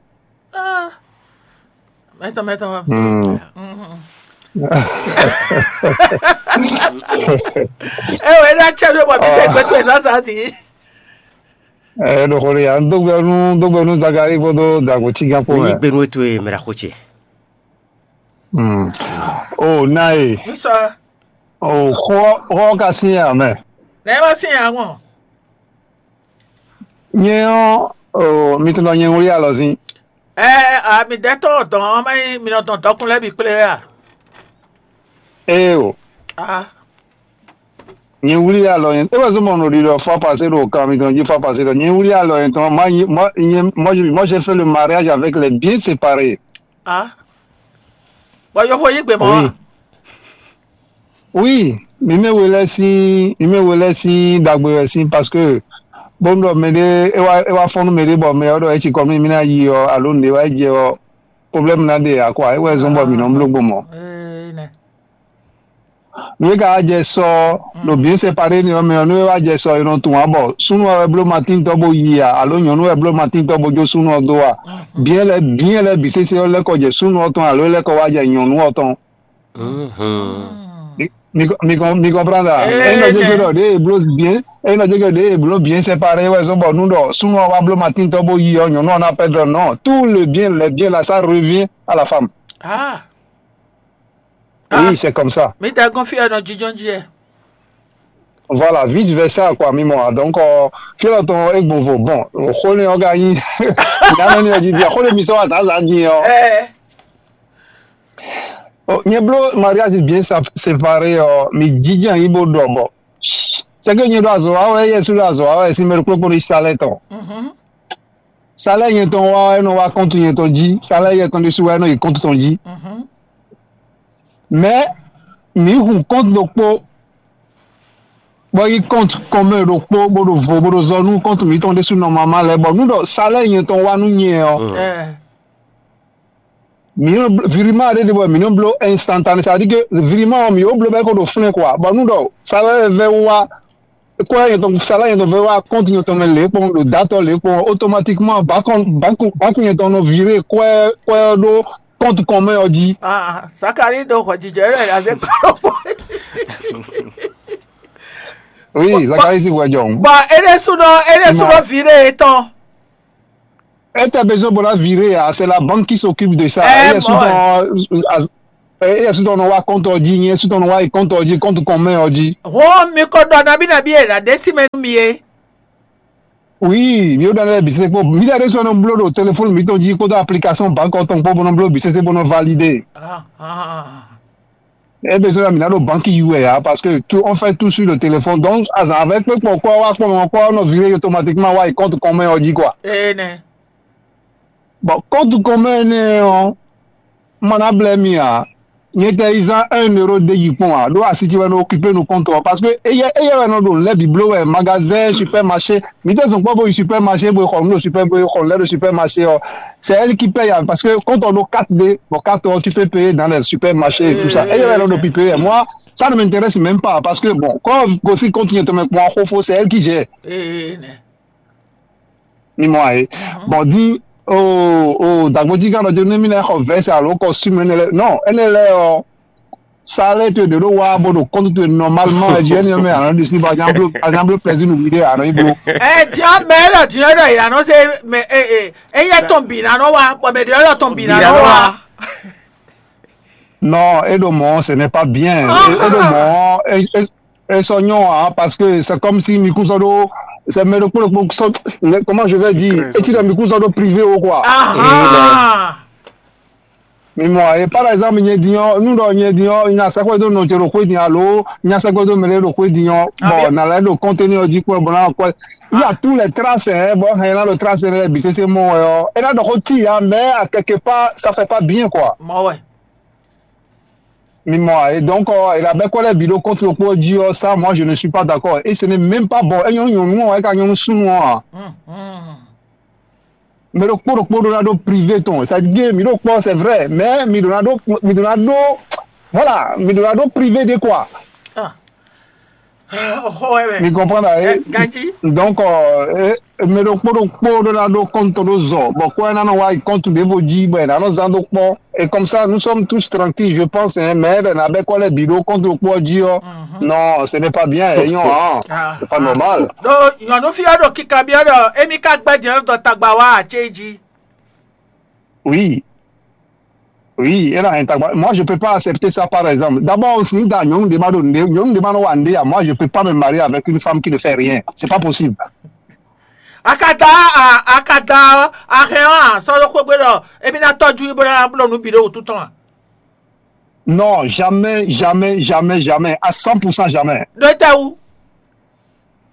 Mɛtɔn mɛtɔn. Hmm. Mhm. Ewɔ ena tsɛ ɖo bɔ mi sɛ gbɛtɔ ɛ sasa ti. Ɛ ɖo xo ɖe ya dó gbɛ nú dó gbɛ nú Zakari kpódó Dagbo Tigán kpó Ní mɛ. Gbenu etwe mɛ ɖaxó ce. Hmm. O na e. Nsɔ. O xɔ xɔ ka sin ya mɛ. Nɛ ma sin ya ŋɔ. Nyɛ ɔ́, o mi tɔn nɔ nyɛ wlí alɔ zin. Ɛ a mi dɛ tɔn dɔn ɔ́ mɛ mi nɔ dɔn dɔkun lɛ́ɛ bǐ kplé wɛ a? Ee o. Ah. Nyɛ wlí alɔ nyɛ. É wɛ zɔ́n mɔ nɔ ɖiɖɔ fɔ pasé ɖo kan mitɔn jí fɔ pasé ɖɔ. Nyɛ wlí alɔ nyɛ tɔn. Moi, moi, moi, moi, j'ai fait le mariage avec les biens séparés. Ah. Bɔ yɔxo yí gbe mɔ Oui. a? Oui, mi mɛ we lɛ sín mi mɛ we lɛ sín dagbe wɛ sín parce que bóun ɖɔ mɛɖé é wá é wá fɔ́n nú mɛɖé bɔ mɛ ɔ́ ɖɔ é ci kɔ mí mí ná yi ɔ́ alo nǔɖé wá jɛ ɔ́ problème ná ɖe ǎ quoi. É wɛ zɔ́n bɔ mǐ nɔ bló gbɔn mɔ̌. Ee, nɛ. Nú é ka wá jɛ sɔ ɔ́, ɖo bien séparé ni ɔ́ mɛ ɔ́, nú é wá jɛ sɔ ɔ́, è nɔ tunwun ǎ bɔ súnnu ɔ́ wɛ bló matíntɔ́ bó yi a, alo nyɔ̌nu wɛ bló matíntɔ́ bó jó súnnu ɔ́ dó a? Bien lɛ́ɛ bien lɛ́ɛ bǐ sésé ɔ́ lɛ́ kɔ jɛ súnnu ɔ́ tɔn alo é lɛ́ kɔ wá jɛ nyɔ̌nu ɔ́ tɔn. Mi mi mi comprendre a? Ee, É nɔ jẹ́ nɛ. Ké ɖɔ ɖěe è bló bien é nɔ jẹ́ ké ɖěe è bló bien séparé wɛ zɔ́n bɔ nú ɖɔ súnnu ɔ́ wá bló matíntɔ́ bó yi ɔ́, nyɔ̌nu ɔ́ ná pɛ́dɔ nɔ tout le bien les biens là ça revient à la femme. Ah. Oui, c'est comme ça. Mi da gɔn fí ɔnɔ jijɔn jí ɛ. Voilà, vice versa quoi, mi mɔ a. Donc euh, fí ɔlɔ tɔn é gbɔn vo bon, xó ní ɔ́ gá yí. Nánà ní ɔjí di xó ní mi sɔ azǎzǎ din ɔ́. Ɛ. Nyɛ bló mariage bien sa- séparé ɔ́, mi jijɛ yí bó ɖɔ bɔ. C'est que nyɛ ɖo azɔ wa wɛ yɛ su ɖo azɔ wa wɛ sin mɛ ɖo kplɔ́kplɔ́ ní salɛ tɔn. Mhm. Salaire yɛn tɔn wá wɛ nɔ wá compte yɛn tɔn jí, salaire yɛn tɔn ɖésú wɛ nɔ yi compte tɔn jí. Mhm. Mais mǐ hun compte ɖokpó bɔ yi compte kɔnmɛ ɖokpó bó ɖo vo bó ɖo zɔ nú compte mǐtɔn ɖésú nɔ mama lɛ́ɛ bɔ nú ɖɔ salaire yɛn tɔn wá nú nyɛ ɔ́. Ɛ. Mǐ nɔ virement ɖé ɖe bɔ mǐ nɔ bló instantané, c'est-à-dire que virement ɔ́ mǐ yó bló bɔ é ko ɖo flɛ́n quoi bɔ nú ɖɔ salaire vɛ́ wá kɔ nyɛtɔn sala nyɛtɔn vɛ wá compte nyɛtɔn mɛ lě kpɔn ɖo datɔ lě kpɔn automatiquement banque banque banque nyɛtɔn nɔ viré kɔɛ kɔɛ ɖó compte kɔn mɛ ɔ́ jí. Ah, Zakari ɖo xɔjijɛ lɛ azɛ kpɔlɔpɔ. Oui, Zakari si wɛ jɔ. Bon, ele sunɔ ele sunɔ viré etɔn. Etɛ besoin bɔ la viré ya, c'est la banque qui s'occupe de ça. Eh, elle est souvent Eye sutɔ nɔ wá kɔntɔ jí, nyɛ sutɔ nɔ wá yi kɔntɔ jí, kɔntu kɔn mɛ ɔ jí. Hɔn mi ko ɖɔ nabí nabí e ɖa ɖe sí mɛ nú mi é. Oui, mi ɖɔ lɛ́ɛ bǐ se kpó mi ɖɔ ɖésú nɔ bló ɖo telefɔni mitɔn jí kpódó application banque tɔn kpó bó nɔ bló bǐ sésé bó nɔ validé. Ebe sɔ́ mi ná ɖo banque yi wɛ ǎ, parce que tout, on fait tout sur le téléphone. Donc azǎn avɛ kpé kpɔ kpɔ wá kpɔ mɔ kpɔ nɔ viré automatiquement wá yi compte commun ɔ jí quoi. Ene. Bon, compte commun énɛ́ ɔ́, ma ná blɛ́ mi ǎ. Nyɛ tɛ yi zán un euro ɖ'é yi kpɔ́n ǎ, ɖó asi ce wɛ nɔ occupé nú compte ɔ́, parce que éyɛ́ éyɛ́ wɛ nɔ ɖo nǔ lɛ́ɛ bǐ bló wɛ, magasin, supermarché. Mi tɛ zɔn kpɔ́ bo yi supermarché bo yi xɔ nǔ ɖo super bo yi xɔ nǔ lɛ́ɛ ɖo supermarché ɔ́, c'est elle qui paye, parce que quand on a quatre D, bon, quatre ɔ́, tu peux payer dans les supermarchés et tout ça. Et il y avait l'autre pipé. Moi, ça ne m'intéresse même pas, parce que bon, quand aussi quand tu es moi, c'est elle qui gère. Ee, nɛ. Mi mɔ ayi. Bon, di o o dagboji kan ɖɔ ne mi lɛ xɔ vɛsɛ alo kɔ sum ene lɛ, non, ene lɛ ɔ, ça allait te de ɖo wa bo ɖo compte te normalement, et Dieu ne me anɔ ɖi si ba nyablo anyablo plaisir nu vidéo anɔ yi blo. Ɛ diɔ mɛ lɔ diɔ ɖɔ yìí anɔ se mɛ e e eyɛ tɔn bi nanɔ wa bɔ mɛ ɖe lɔ tɔn bi nanɔ wa. Non, et de mon, ce n'est pas bien. Et, et de mon, et, et, et soignons, hein, parce que c'est comme si Mikusodo, c'est Merokoloko, comment je vais dire, et tu as Mikusodo privé ou quoi. Ah. Mi mɔ, e par exemple nyɛ din ɔ́, nu ɖɔ nyɛ din ɔ́, nya sɛkpɛ dó nɔ ce ɖo xwé din alo nya sɛkpɛ dó mɛ ɖo xwé din ɔ́, bon, na lɛ ɖo kɔntɛni ɔ́ jí kpɔ́ bɔ na kɔ. Il y a tous les traces, hein, bon, hɛn na ɖo trace lɛ bi sese mɔ wɛ ɔ́, e na ɖɔ xó ti ya, mais à quelque part ça fait pas bien quoi. Mɔ wɛ. Mi mɔ, et donc, euh, il a bien collé vidéo contre le projet, ça, moi, je ne suis pas d'accord. Et ce n'est même pas bon. Et nous, nous, nous, avec un nous, nous, nous, Mɛ ɖokpó ɖokpó ɖó ná ɖó privé tɔn, c'est-à-dire mi ɖo kpɔ́, c'est vrai, mais mi ɖó ná ɖó mi ɖó ná ɖó, voilà, mi ɖó ná ɖó privé de quoi. Ah. Oh, ouais, ouais. Mi comprend là, eh, Ganji. Donc euh, eh, mɛ ɖokpó ɖokpó ɖó ná ɖó compte ɖó zɔ, bɔ kɔ ɛ ná nɔ wá yi compte ɖěvo jí bɔ ɛ ná nɔ zán ɖó kpɔ́. Et comme ça, nous sommes tous tranquilles, je pense, hein, mais le n'a bɛ kɔ lɛ bi ɖó compte ɖokpó jí ɔ. Non, ce n'est pas bien, et non, hein, c'est pas normal. Donc, il y a nos filles qui cambionnent, et mi ka gbɛ diɛ dɔ tagba wa a tse jí. Oui. Oui, elle a un tagba. Moi, je peux pas accepter ça, par exemple. D'abord, si dans nyɔnu de ma donne, nyɔnu de ma no wande, moi, je peux pas me marier avec une femme qui ne fait rien. C'est pas possible. Akada, akada, ahɛn ɔ́, sɔ́ ɖó xwé gbe ɖɔ émí ná tɔ́jú í bó ná bló nǔ bǐ ɖó wǔtu tɔn a? Non, jamais, jamais, jamais, jamais, à cent pour cent jamais. Ɖó tɛ wú?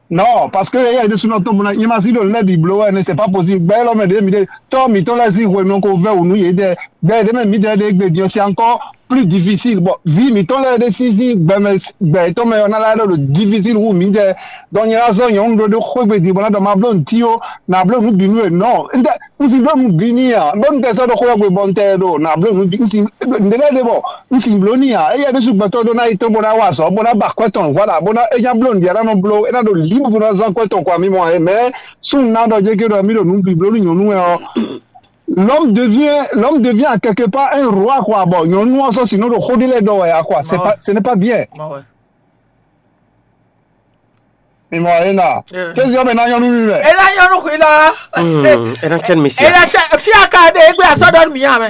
Non, parce que il y a des sous notre monde, il m'a dit le lait du blower, c'est pas possible. Ben, l'homme de mi de, tant mi ton la si ouais non qu'on veut ou nous y est, ben, de même mi de de de c'est encore plus difficile. Bon, vi mi ton la de si si ben mais ben ton mais on a là le difficile ou mi de donc il y a ça, il y a un de de quoi ben dit voilà dans ma blonde tio, na blonde nous binu non. N si bló nu bǐ n'i a, bónú tɛ sɔ́ ɖo xó ɔ́ gbe bɔ un tɛ ɖo nǎ bló nu bǐ, n si ɖe lɛ́ɛ ɖe bɔ un si bló n'i a, éyɛ́ ɖésú gbɛtɔ́ ɖó ná yi tó bó ná wa azɔ̌, bó ná ba akwɛ́ tɔn, voilà, bó ná é nya bló nǔɖé ná nɔ bló, é ná ɖo lǐbǔ bó ná zán akwɛ́ tɔn kɔ ami mɔ ɛ, mɛ súnnu ná ɖɔ jégé ɖɔ mí ɖo nǔ bǐ bló nú nyɔ̌nu wɛ ɔ́, l'homme devient l'homme devient quelque part un roi quoi, bɔ nyɔ̌nu ɔ́ sɔ́ si nɔ ɖo xó ɖé lɛ́ɛ ɖɔ wɛ a quoi, c'est pas, ce n'est pas bien. Mi mɔ ena. Kézi ɔ́ mɛ ná nyɔ́ nú mi mɛ. Ena nyɔ́ nú xwi la. Hmm, ena tiens mi sia. Ena tiens fia ka de egbe asɔ dɔ mi ya mɛ.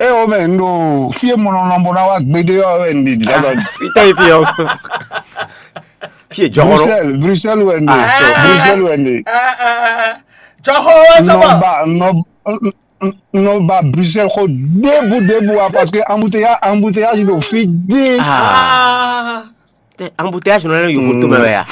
E o mɛ n ɖo fie mɔ nɔ nɔ bo ná wá gbede ɔ́ wɛ n ɖi di sɔsɔ. Fita yi fi ɔ. Fie jɔkɔrɔ. Bruxelles, Bruxelles wɛ n ɖe. Bruxelles wɛ n ɖe. Jɔxɔ wɛ sɔbɔ. Nɔ ba nɔ nɔ ba Bruxelles xɔ debu debu wa parce que embouteillage embouteillage ɖo fi dé. Ah. Tɛ embouteillage nɔ lɛ yòókù tó mɛ wɛ ya.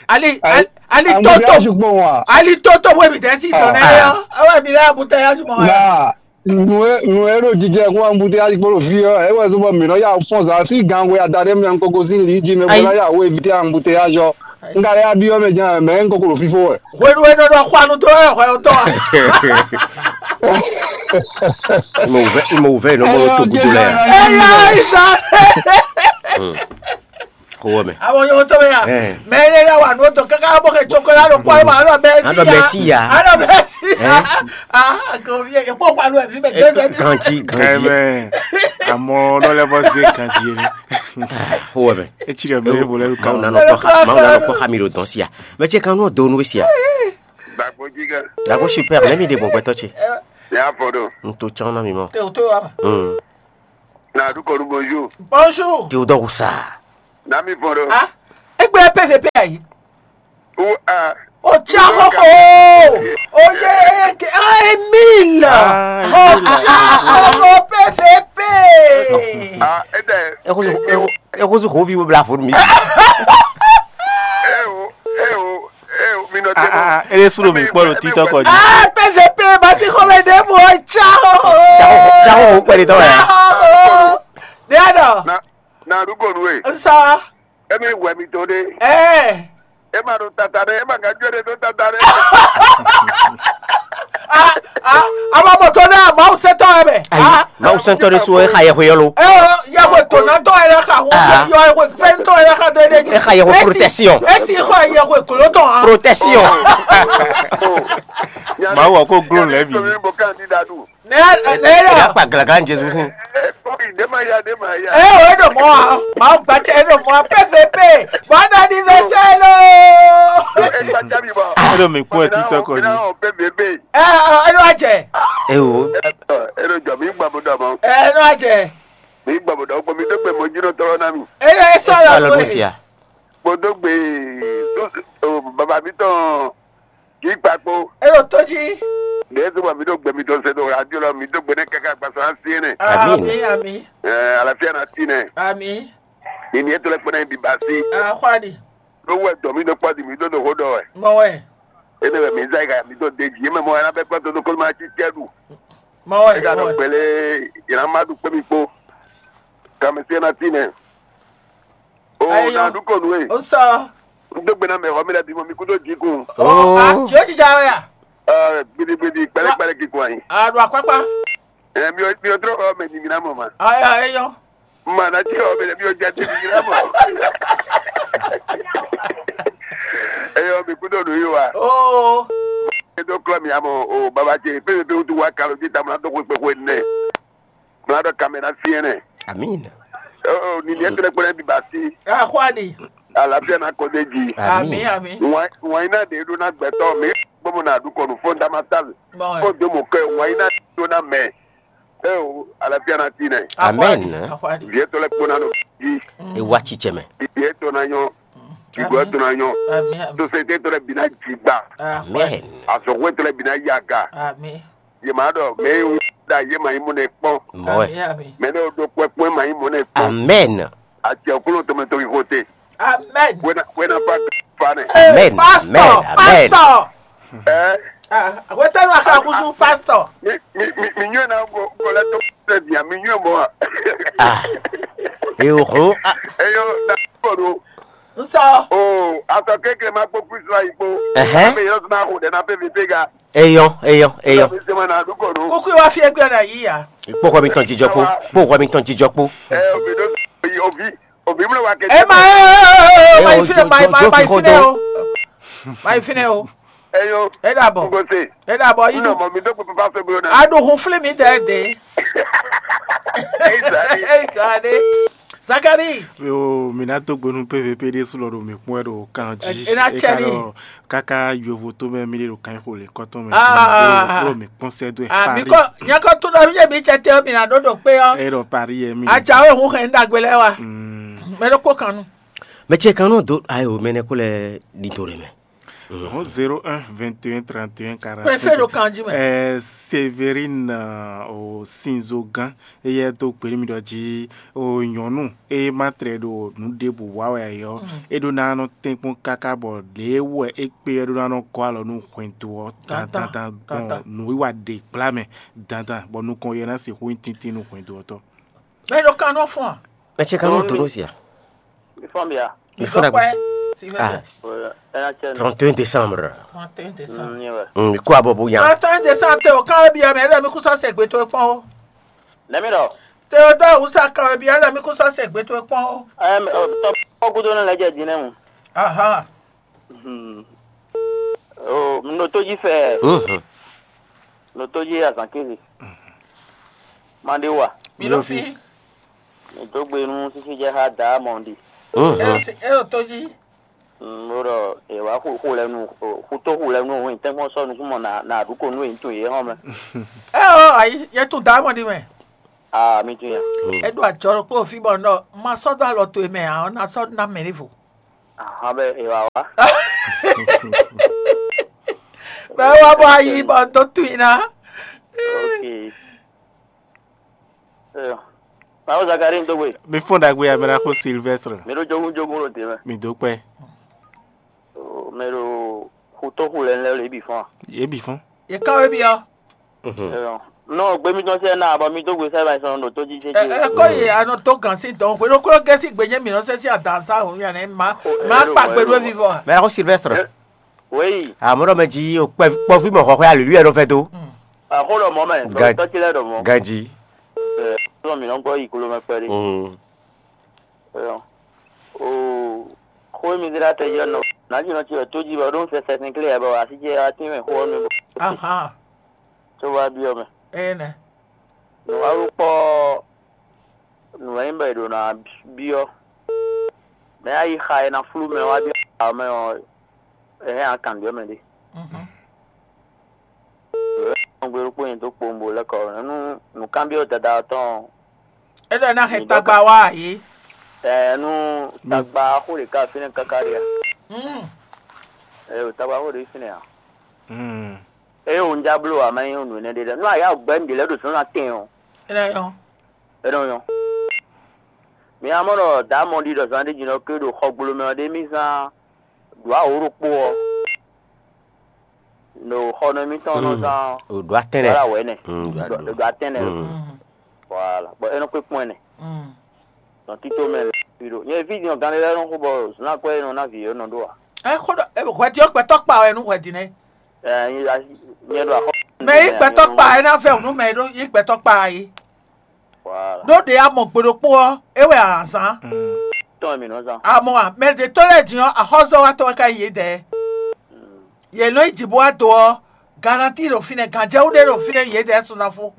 Ali ali toto embouteillage gbɔn wa. Ali toto wo ebi tɛ si dɔn nɛ yɔ. Awo ebi lɛ embouteillage mɔ wɛ. Na nu e nu e ɖo jijɛ kó embouteillage kpó ɖo fi ɔ ewɛ zɔn bɔ mi nɔ ya fɔn zan si gan wɛ ada ɖe mi ankoko si li ji mɛ bɔ na ya wo éviter embouteillage ɔ. N ka lɛ ya bi ɔ mɛ jan mɛ n koko ɖo fifo wɛ. Hwenu e nɔ ɖɔ xwanu dó wɛ hwɛ ɔtɔ a? Imo wuvɛ imo wuvɛ nɔ mɔ to gudo lɛ ya. Eya isa. Kowɔ mɛ. Àwọn yòówó tó bẹ́yà. Mɛ ilé rẹ̀ wà ní o tó kankan bó kẹ́ tsoko lánàá kó àwọn àlọ́ bẹ́ẹ̀ sí ya. Àlọ́ bẹ́ẹ̀ sí ya. Àlọ́ bẹ́ẹ̀ sí ya. Ah, kò fi ẹ̀ kó pàlọ́ ẹ̀ fi bẹ̀ gẹ́gẹ́ bí. Kanti kanti. Àmọ́ lọ́lẹ́ bọ́ sí kanti yẹn. Kowɔ mɛ. Etsi rẹ̀ bẹ́ẹ̀ bolo ẹ̀ lukà. Màá nà nọ kpọ́ xa màá nà nọ kpọ́ xa mi ɖo dɔn sí ya. Mɛ tse kan nɔ do nu sí ya. Dàgbò jíga. Dàgbò super mɛ mi ɖe gbɔn gbɛtɔ tse. Ní afɔ ɖo. N to tsán na mi mɔ. Tẹ o tó wa ma. Nadu kɔnu bonjour. Bonjour. Théodore Oussard. Nami fɔn ɖo. Ah, egbe P V P ayi. Ou a. O tsa xoxo. O ye ke ah Emile. Ah, Oh Emile. tsa xoxo P V P. Ah, ede. Ekozu ekozu hovi wo bla fo mi. Eh o, eh o, eh o, mi nɔ Ah, ah, ele sunu mi kpɔ ɖo TikTok ɔ dzi. Ah, P V P basi xɔmɛ ɖe mo tsa xoxo. Tsa xoxo kpɛ ɖe tɔ ya. Ne ya dɔ. Nadu kɔnu e. Nsa. Emi wɛ mi to ɖe. Eh. E ma ɖo tata ɖe, e ma ka jɔ ɖe ɖo tata ɖe. Ah, ah, ama bɔ to na Mawu sɛtɔ yɛ mɛ. Ayi, Mawu sɛntɔ ɖe so exa yɛxwe yɔlo. Eh, yɛxwe to na tɔ yɛ na ka wo. Ah. Yɛxwe fɛn tɔ yɛ na ka do ne. Exa yɛxwe protection. Esi xɔ yɛxwe kolo tɔ ha. Protection. Oh. Mawu ɔ ko glo lɛ bi. Mi bo candidat du. Ne ne Ìyá yɔ. pa gàlagà ní Jésù fún. Eh, sorry, de ma ya, de ma ya. Eh, o edo mɔ ha. Mawu gbatsɛ edo mɔ ha. P V P. Bon anniversaire lo. E gba jabi bɔ. Edo mi kún ẹ TikTok ɔ dzi. P V P. Eh, edo ajɛ. Ewo. Edo jɔ mi gbɔ mo dɔ mɔ. Eh, edo ajɛ. Mi gbɔ mo dɔ gbɔ mi dɔ gbɛ mo jiro tɔlɔ na mi. Edo esɔ Alo lo. Lucia. Mo dɔ gbɛ baba mi tɔn kì í kpakpo. Edo toji. Ɖe to bɔ mi dɔ gbɛ mi tɔn se do radio lɔ mi dɔ gbɛ ne kaka gbasa asi ne. Amin. Ami ami. Eh, alafia na ti ne. Ami. Ni ni eto le kpɛnɛ bi basi. Akwadi. Lo wɛ dɔ mi do kpɔ di mi do do ho dɔ wɛ. Mɔ wɛ. Ene wɛ mi zai ka mi do de ji me mo ya na be kpɔ to do ko ma ti tɛ du. Mɔ E ka wɛ. dɔ Mɔ wɛ. gbele ina ma du kpɛ mi kpo. Kame se na ti ne. O Ayo. Na du ko nu e. O sɔ. N do gbɛ na mɛ xɔ mi lɛ bi mo mi ku do ji kun. O a ti o ti ja wɛ ya. Eh, gbidi gbidi kpɛlɛ kpɛlɛ ki kun ayi. A do akpakpa. Eh, mi o mi o dro xɔ mɛ ni mi na mɔ ma. Aya eyɔ. Ma na ti xɔ mɛ ni mi o ja ti mi na mɔ. Eyɔ mi ku do nu yi wa. Oo. E do klɔ mi amɔ o baba ce pe pe tu wa kalo ji tamla do ko pe ko ne. Mla dɔ kamera fiɛ ne. Amin. O ni ni etre kpɛlɛ bi basi. Akwadi. Alafia na ko de ji. Ami ami. Wa wa ina de do na gbɛtɔ mi gbɔmɔ na du kɔnu fondamentale. Mɔ Ko wɛ. de mo kɛ wa ina do na mɛ. E o alafia na ti ne. Amen. Akwadi. Vie to le kpona no ji. Ewa tsitsɛ mɛ. Vie to na nyɔ. Igwe to na nyɔ. Ami ami. Société to le bi na jigba. Akwadi. Amen. Asɔgwe to le bi na yaga. Ami. Ye ma dɔ mɛ e da ye ma yi mo ne kpɔn. Mɔɛ. Ami ami. Mɛ ne o do kpɛkpɛ ma yi mo ne kpɔn. Amen. Ati okolo to me to yi kote. Amen. Wena wena pa fa ne. Amen. Pastor. Amen. Amen. Pastor. Eh, Ah, wetanu akakusu pastor. mi mi mi mi nyɔ na go go le to se dia mi nyɔ mo. Ah. Eyo hun. Ah. Eyo na ko do. Nsɔ. O, atɔ kekle ma kpɔ Kristo ayi kpɔ. Ɛhɛn. Mɛ yɔrɔ tún náà kò dɛ náà fẹ́ mi pé ga. Eyɔn, eyɔn, eyɔn. Mi sɛ ma na dúkọ̀ nù. Kúkú wa fi ẹgbẹ́ náà yí ya. Kpɔkɔ mi tɔn jijɔ kpo. Kpɔkɔ mi tɔn jijɔ kpo. Ɛ omi ló omi omi ló wa kẹjẹ. Ẹ máa ẹ ẹ ẹ máa Ẹ ìfilẹ̀ jọ- máa jọ- máa jọ máa fi ìfilẹ̀ hàn o. Máa ìfilẹ̀ o. Ẹ yọ. Ẹ dàbọ̀. N kò se. Ẹ dàbọ̀ N yín nà dùn. Mọ̀ mi tó pé papa fẹ́ gbé náà. Adùn fúnlẹ̀ mi dẹ̀ dé. Ẹ ìsàlẹ̀. Ẹ ìsàlẹ̀. Zakari. Yo, mi ná dó gbe nú P V P ɖé sú lɔ ɖo mǐ kpɔ́n wɛ ɖo kan jí. É ná cɛ ní. Ɖɔ káká yovo tó mɛ mi ɖe ɖo kan xo lě kɔtɔn mɛ. Ah. Ɖo mi kpɔn sɛ do ɛ Àmì Paris. Kọ́ nyakọ́ tó lọ bí yẹ̀mí jẹ tẹ́ mi nà dó dò pé ọ́. Ɛ ɖɔ Paris yɛ mi. Àjàwé òun hẹ̀ ń dàgbé lẹ́wà. Mm. Mẹ́rẹ́ kó kan nù. Mɛ ce kan nɔ do ayi o mɛ nɛ ko lɛ ɖi do ɖe mɛ. Hɔn zéro un vingt et un trente et un quarante. Préfet ɖo kan jí mɛ. Ɛ Séverine ɔ, Sinzogán eye do gbeli mi ɖɔ jí o nyɔnu eye ma tlɛ ɖo nu ɖe bu wa wɛ yɔ e ɖo na nɔ tɛnkpɔn kaka bɔ ɖe wɛ e kpe e ɖo na nɔ kɔ alɔ nu hwɛndo ɔ Dandan, dandan dandan. Gbɔn nu wiwa ɖe gbla mɛ dandan bɔ nukɔn yɛ na si hu tintin nu hwɛndo ɔtɔ. Mẹ́rẹ́ kan nɔ fún wa. Mɛ ce kan nɔ do nɔ sia. Mi fɔn bia. Mi fɔ dagbe. Ah, Ɛ na cɛ nu. Trente et un décembre. Trente et un décembre. N yɛ wɛ. Mm, ko abo bu yan. Trente et un décembre tẹ o kan bi amẹ ẹlẹ́mi kú sọ́sẹ̀ gbé tó pọ́n o. Nɛmi dɔ. Théodore Oussard kan bi ẹlẹ́mi kú sọ́sẹ̀ gbé tó pọ́n o. Ɛm ɔ tɔ kɔkudo ne lɛ jɛ din nɛ mu. Ahan. Hmm. O n ɖo to dzi fɛ. Mhm. N ɖo to dzi azan kezi. Ma ɖe wa. Mi ló fi. Mi do gbe nu sisi jɛ ha da mɔ ɖi. Mhm. Ẹ ò tó jí. N ɖo ɖɔ ewa xu xu lɛ nu xu to xu lɛ nu òun tɛnkpɔn sɔ nukun mɔ na na ɖu ko nu yìí tun yìí hɔn mɛ. Ẹ ò ayi yẹ tún dá mọ̀ ní mẹ́. Ah, mi tunwun ya. É ɖo ajɔ ɖokpó fí bɔ un ɖɔ un ma sɔ́ dó alɔ towe mɛ ǎ, ɔ́ ná sɔ́ ná mɛ ɖěvo. Ahan bɛ e wa wa. Bɛ é wá bɔ ayi bɔ un dó tunwun i ná. Ok. Eyo. Mawu Zakari n dógbe. Mi fɔn ɖagbe ya mɛ ɖaxó Sylvestre. Mi ɖo jogun jogun ɖo te mɛ. Mi dó kpɛ. Mi ɖo xutó xu lɛ lɛ le bi fɔn. Yě bǐ fɔ́n. Yě ká wé byɔ́. Eyo. Nɔ gbé mi tɔn sɛ na bɔ mi dó gbe sɛ ba sɔn ɖo tó jí jɛjɛ. Ɛ kɔ yi anɔ tó gan sí dɔn hwenu kúrò gɛ́sì gbé nyé mǐ nɔ sɛ sí adǎn sá hǔn yàn ní ma ma kpa gbe ɖó vivɔ. Mɛ ɖaxó Sylvestre. Oui. Amɔ̌ ɖɔ mɛ jí o kpɔví mɔ xɔxɔ́ alǔlú yɛ ɖo fɛ dó. Àxó ɖɔ mɔ mɛ, Gan- tɔ́ ce lɛ ɖɔ mɔ. Ganji. Ɛ, tɔ́ mi nɔ gbɔ yi kolo mɛ kpɛɖé. Mm. Ɛ, o xó mi zé ɖa tɛ yɔ nɔ. Nǎ jí nɔ ci wɛ tó jí bɔ ɖó ń sɛ sɛsɛn klé yɛ bɔ así ce wá tín mɛ xó ɔ́ mi bɔ. Ahan. Tó wá byɔ́ mɛ. Ene. Nǔ wá rú kpɔ́ nǔ wɛ nyí bɔ è ɖo ná byɔ́. Mɛ ayi xa è nǎ flú mɛ wá byɔ́ xa mɛ ɔ́, è hɛn akan byɔ́ mɛ ɖé. Mhm. Nɔgbe ɖokpó nyi dó kpowun bo lɛ́ kɔ nú nǔkanbyɔ́ dada ɔ́ tɔn. É ɖɔ ná hɛn tagba wá yě. Ɛ nú tagba xó ɖe ká fínɛ́ káká ɖe a? Mm. Ɛ o tagba xó ɖe fínɛ́ a? Mm. Eye wò un já bló ǎ má nyí nǔ énɛ́ ɖé lɛ́ɛ. Nú a yá gbɛ́ nǔɖé lɛ́ɛ ɖo zǎnzǎn tɛn ɔ́, É ná nyɔ́. É nɔ nyɔ́. Mi ná mɔ ɖɔ dǎ mɔ ɖi ɖɔ zán ɖé jǐnɔ ké ɖo xɔgblo mɛ ɔ́ ɖé mì zán ɖǒ awǒ ɖokpó ɔ́, ɖo xɔ nɔ émítɔn nɔ zán Ɖo atɛ́nɛ. Wala wɛ̌nɛ. Mm, ɖo ɖo atɛ́nɛ. Mm. Voilà. Bɔ é nɔ kpé kpɔ́n ɛnɛ. Mm. Nɔ tító mɛ lɛ fi ɖo. Nyɛ ví din ɔ́, gan ɖé lɛ́ɛ nɔ xo bɔ zǎn akwɛ́ e nɔ ná vǐ é nɔ ɖó a? Ɛ xó ɖɔ ɛ, hwɛdi ɔ́ gbɛtɔ́ kpa wɛ nú hwɛdi nɛ́. Ɛ nyɛ ɖo axɔ. Mɛ yí gbɛtɔ́ kpa ɛ ná vɛ nú mɛ e ɖó yí gbɛtɔ́ kpa é. Voilà. Ɖó ɖě a mɔ gbe ɖokpó ɔ́, é wɛ a zán. Tɔn mi nɔ zán. A mɔ a, mɛ ɖě tɔn lɛ́ɛ din ɔ́, axɔ́zɔ́watɔ́ wɛ ká nyí yědɛɛ. Yě nɔ yi jǐ bó wá do ɔ́, garanti ɖo fínɛ́, ganjɛwú ɖé ɖo fínɛ́ yědɛɛ sunzán fó.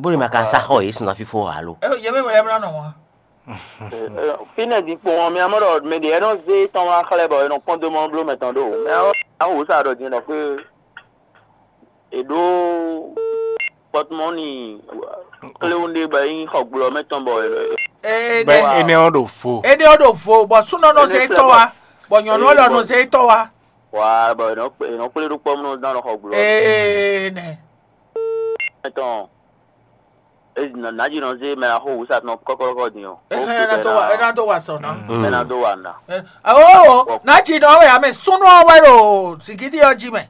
Bó ní ma ka sa xɔ yě sunzán fífó alo. Ɛ yě mɛ wɛ lɛ́ mlá nɔ wá. Fínɛ́ din kpɔn ɔ́, mi amɔ ɖɔ mɛ ɖě nɔ zé tɔn wá xlɛ́ bɔ è nɔ kpɔ́n dó mɔ bló mɛ tɔn ɖó. Mɛ ɔ́, awu sa ɖɔ din ɖɔ xwé è ɖó pɔtmɔni kléwún ɖé bɔ é nyí xɔgblɔ mɛ tɔn bɔ Bɛ énɛ́ ɔ́ ɖo vo. Énɛ́ ɔ́ ɖo vo, bɔ súnɔ nɔ zé tɔ́ wá, bɔ nyɔ̌nu ɔ́ lɔ nɔ zé tɔ́ wá. Wá bɔ è nɔ kplé ɖó kpɔ́ mɔ dán lɔ xɔgblɔ. Ee nɛ. Tɔn. Nǎjínɔ zé mɛ axó wǔsatɔn kɔ́kɔ́kɔ́ din ɔ́. Ɛ ná dó wa sɔ ná. Ɛ ná dó wa ná. Awo, nǎjínɔ wɛ amɛ súnú ɔ́ wɛ ɖo zǐngídi ɔ́ jí mɛ.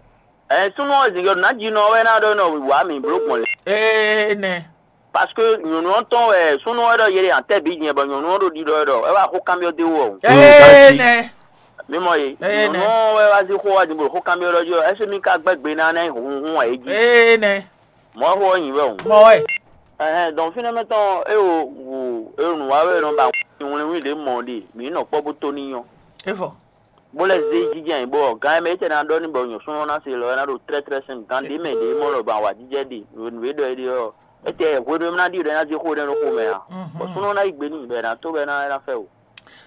Ɛ súnú ɔ́ zǐngídi ɔ́, nǎjínɔ wɛ ná ɖɔ nɔ wǐwá mǐ bló gbɔn lě. Ee nɛ. Parce que nyɔ̌nu ɔ́ tɔn wɛ súnú ɔ́ ɖɔ yě ɖe atɛ́ bǐ nyɛ bɔ nyɔ̌nu ɔ́ ɖo ɖiɖɔ ɛ ɖɔ é wá xó kanbyɔ́ dé wú ɔ́. Ee nɛ. Mi mɔ ye. Ee nɛ. Nyɔ̌nu ɔ́ wɛ wá zí xó wá din blo xó kanbyɔ́ ɖɔ jí ɔ́, ɛsɛ mi ka gbɛ́ gbe ná ná hun hun ɛ jí. Ee nɛ. Mɔ̌ xó ɔ́ nyi wɛ o. Mɔ wɛ. Ɛhɛn, dɔn fínɛ́ mɛ tɔn é o wu é o nǔ wa wɛ nɔ ba wlínwlín ɖě mɔ ɖe mǐ nɔ kpɔ́ bó tó ní nyɔ́. É fɔ. Bó lɛ́ zé jínjɛ́n ayǐ bɔ gǎn e mɛ é tɛ ná ɖɔ ní bɔ nyɔ̌súnú ɔ́ ná se lɔ é ná ɖo tlɛ́tlɛ́ sín gǎn ɖě mɛ ɖě mɔ lɔ ba wa jínjɛ́ ɖe nǔ e ɖɔ é ɖe ɔ́, é tɛ hwenu e ná ɖi ɖɔ é ná zé xó ɖé nú xomɛ ǎ. Bɔ súnnu ɔ́ ná yí gbe n'i bɔ è nǎ tó bɔ é ná é ná fɛ o.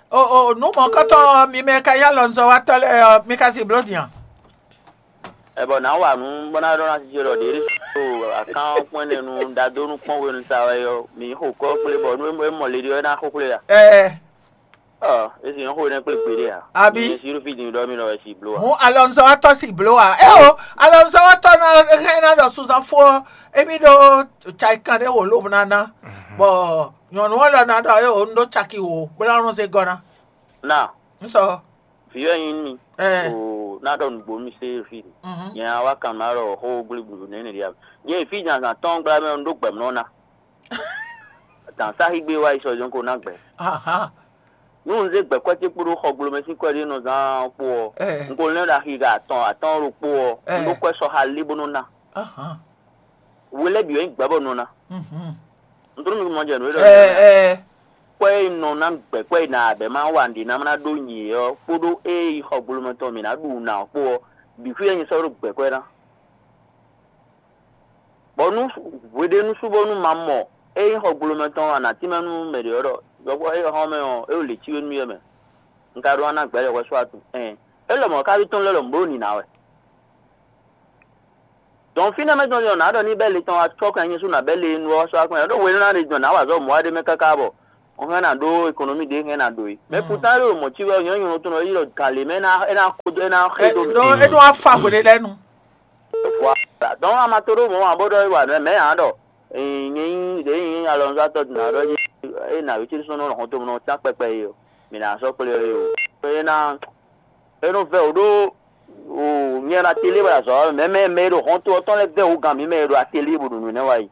O o nǔ mɔ̌kɔtɔn mi mɛ ka nyí alɔnuzɔ́watɔ́ lɛ́ɛ ɔ́, mi ka sin bló din a? Ɛ bɔ nǎ wa nǔ bó ná ɖɔ ná jijɛ ɖɔ ɖě ɖé so akán kpɔ́n ɛnɛ nu ɖadó nú kpɔ́n hwenu sa wɛ ɔ́, mǐ xo kɔ́ kplé bɔ nú é mɔ le ɖé ɔ́ é ná xó kplé a? Ɛɛ. Ɔ, é sin xó énɛ́ kplé gbeɖé ǎ. Abi. Nyɛ si ɖo fí din ɖɔ mì nɔ wɛ si bló ǎ. Hǔn alɔnuzɔ́watɔ́ sin bló ǎ. Éwo, alɔnuzɔ́watɔ́ ná hɛn ná ɖɔ sunzán fó ɔ́, émí ɖó cayikan ɖé wǒ lobɔ ná ná, bɔ nyɔ̌nu ɔ́ lɔ ná ɖɔ éwo un ɖó caki wǒ bó ná nɔ zé gɔ́ ná. Na. Un sɔ. Vǐ wɛ nyí mì. Ɛ. O ná ɖɔ nǔgbó mì sé fí. Mhm. Nyɛ wá kan má ɖɔ xó gblígblu nɛ́ nɛ ɖi a? Nyɛ fí zǎnzǎn tɔn gbla mɛ un ɖó gbɛ̌mlɔ́ ná. Dǎn sáxi gbé wá yi sɔ jɔn ko ná gbɛ. Aha. Nú un zé gbɛ̌kwɛ́ ce kpódó xɔgblomɛ sín kwɛ́ ɖé nɔ zán kpó ɔ́, un ko lɛ́n ɖo axi ga atɔn atɔ́ɔ́n ɖokpó ɔ́, un ɖó kwɛ́ sɔxa lé bó nɔ́ ná. We lɛ́ɛ bǐ wɛ nyí gbɛ̌ bɔ nɔ ná. Un tló mi mɔ jɛ nǔ e ɖɔ kwɛ́ e nɔ ná gbɛ̌kwɛ́ e nǎ bɛ́ má wa nǔɖé ná má ná ɖó nyǐ ɔ́ kpódó ée yi xɔgblomɛ tɔn mǐ ná ɖu nǎ ɔ́ kpó ɔ́, bǐ xwí wɛ nyɛ sɔ́ ɖó gbɛ̌kwɛ́ ná. Bɔ nú hweɖénu sú bónú ma mɔ ényí xɔgblomɛ tɔn ɔ́, a nǎ tínmɛ nú mɛ ɖě ɔ́ ɖɔ yɔkpɔ́ é xɔ́n mɛ ɔ́, é ɖo lě cí we nú yɛ mɛ. Un ka ɖó ná ná gbɛ̌ ɖɔ hwɛ só atu. Ɛn, é lɔmɔ̌ ká ɖó tɔn lɛ́ ɖɔ mǔ ɖo nǐ ná wɛ. Donc fínɛ́ mɛ tɔn ɔ́, nǎ ɖɔ ní bɛ́ le tɔn wá cɔ́ kan nyɛ sú nǎ bɛ́ le nu ɔ́ sɔ́ wá kpɛn ɖó hwenu ná ɖe dɔn nǎ wa zɔ́ mɔ̌ wá ɖé mɛ káká bɔ un hɛn ná ɖó ekonomi ɖé hɛn ná ɖó é. Mais pourtant ɖo mɔ̌ cí wɛ nyɔ̌ nyɔ̌ tɔn ɔ́ yi ɖɔ gǎn lě mɛ é ná é ná xo dó é ná xé dó mǐ. Ɖó é ɖó wá fa hwelé lɛ́ɛ nu. Voilà. Donc a ma to ɖó mɔ̌ ǎ bó ɖɔ é wa nǔ mɛ ǎ ɖɔ nyɛ nyí ɖě nyí alɔnuzátɔ́ din ná ɖɔ é ná wí cí sɔ́ nɔ hɔn tomɛ nɔ tán kpɛkpɛ é ɔ́, mǐ ná sɔ́ kplé ɔ́ é o. É ná é nɔ vɛ wǔ ɖó nyɛ ɖo atelier wɛ azɔ̌ ɔ́, mɛ mɛ mɛ e ɖo hɔnto ɔ́ tɔn lɛ́ɛ vɛ wǔ gǎn mǐ mɛ e ɖo atelier bó ɖo nǔ nɛ́ wa yi.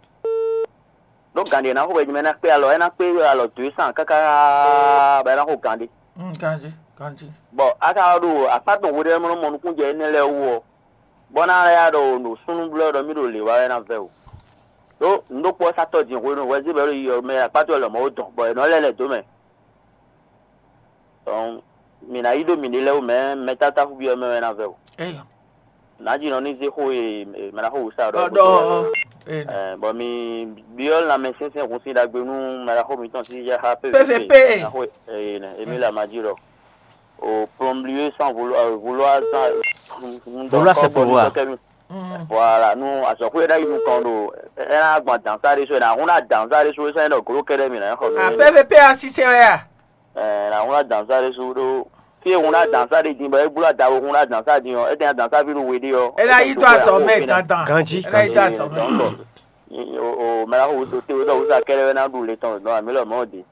Ɖó gǎn ɖě ná xo wɛ mɛ ná kpé alɔ, é ná kpé alɔ dǒ e sán káká bɔ é ná xo gǎn ɖé. Mm, ganjí, ganjí. Bɔ a ka ɖo akpá tɔn hwe ɖé mɔ mɔ nukúnjɛ énɛ́ lɛ́ɛ wú ɔ́, bɔ ná lɛ́ ya ɖɔ ɖo súnnu blɔ́ ɖɔ mí ɖo lě wa wɛ ná vɛ o. Ɖó nǔ ɖokpó ɔ́ sá tɔ́ din hwenu hwɛzí bɔ é ɖo yi ɔ́ mɛ akpá tɔn lɔmɔ̌ ó dɔn, bɔ è nɔ lɛ́ lɛ dǒ mɛ. Dɔn mǐ ná yi ɖo mǐɖée lɛ́ɛ wú mɛ mɛ tátáxú byɔ́ mɛ wɛ ná vɛ o. Eyɔ. Nǎjínɔ ní zé xó e mɛɖaxó wǔ sa ɖɔ Ɔ, ɖɔ ɔ, ɔ. Ee, nɛ. Bɔ mi byɔ́ lanmɛsɛnsɛn hun sín ɖagbe nú mɛɖaxó mitɔn sí yá xá P V P. P V P. Mɛɖaxó ee nɛ Emile Amaji ɖɔ o plomblier sans vouloir vouloir sans Vouloir, c'est pouvoir. Voilà, nú azɔ̌xwé ɖ'ayǐ nukɔn ɖo ɛ ná gbɔn dansa ɖé so ɛ ná hún ná dansa ɖé so é sɔ́ nyí ɖɔ glo kɛɖɛ mi ná xɔ mi. Ah, P V P asisɛ wɛ a? Ɛ ná hún ná dansa ɖé so ɖó fí e hún ná dansa ɖé din bɔ é gblo adawo hún ná dansa din ɔ́, é tɛn dansa ví ɖo we ɖé ɔ́. É ná yí dó azɔ̌ mɛ dandan. Ganjí, É ná yí dó ganjí. Azɔ̌ mɛ. Donc o o mɛ la xo o te o dɔ wusa kɛɖɛ wɛ ná ɖu le tɔn dɔn ami lɔ mɔ de.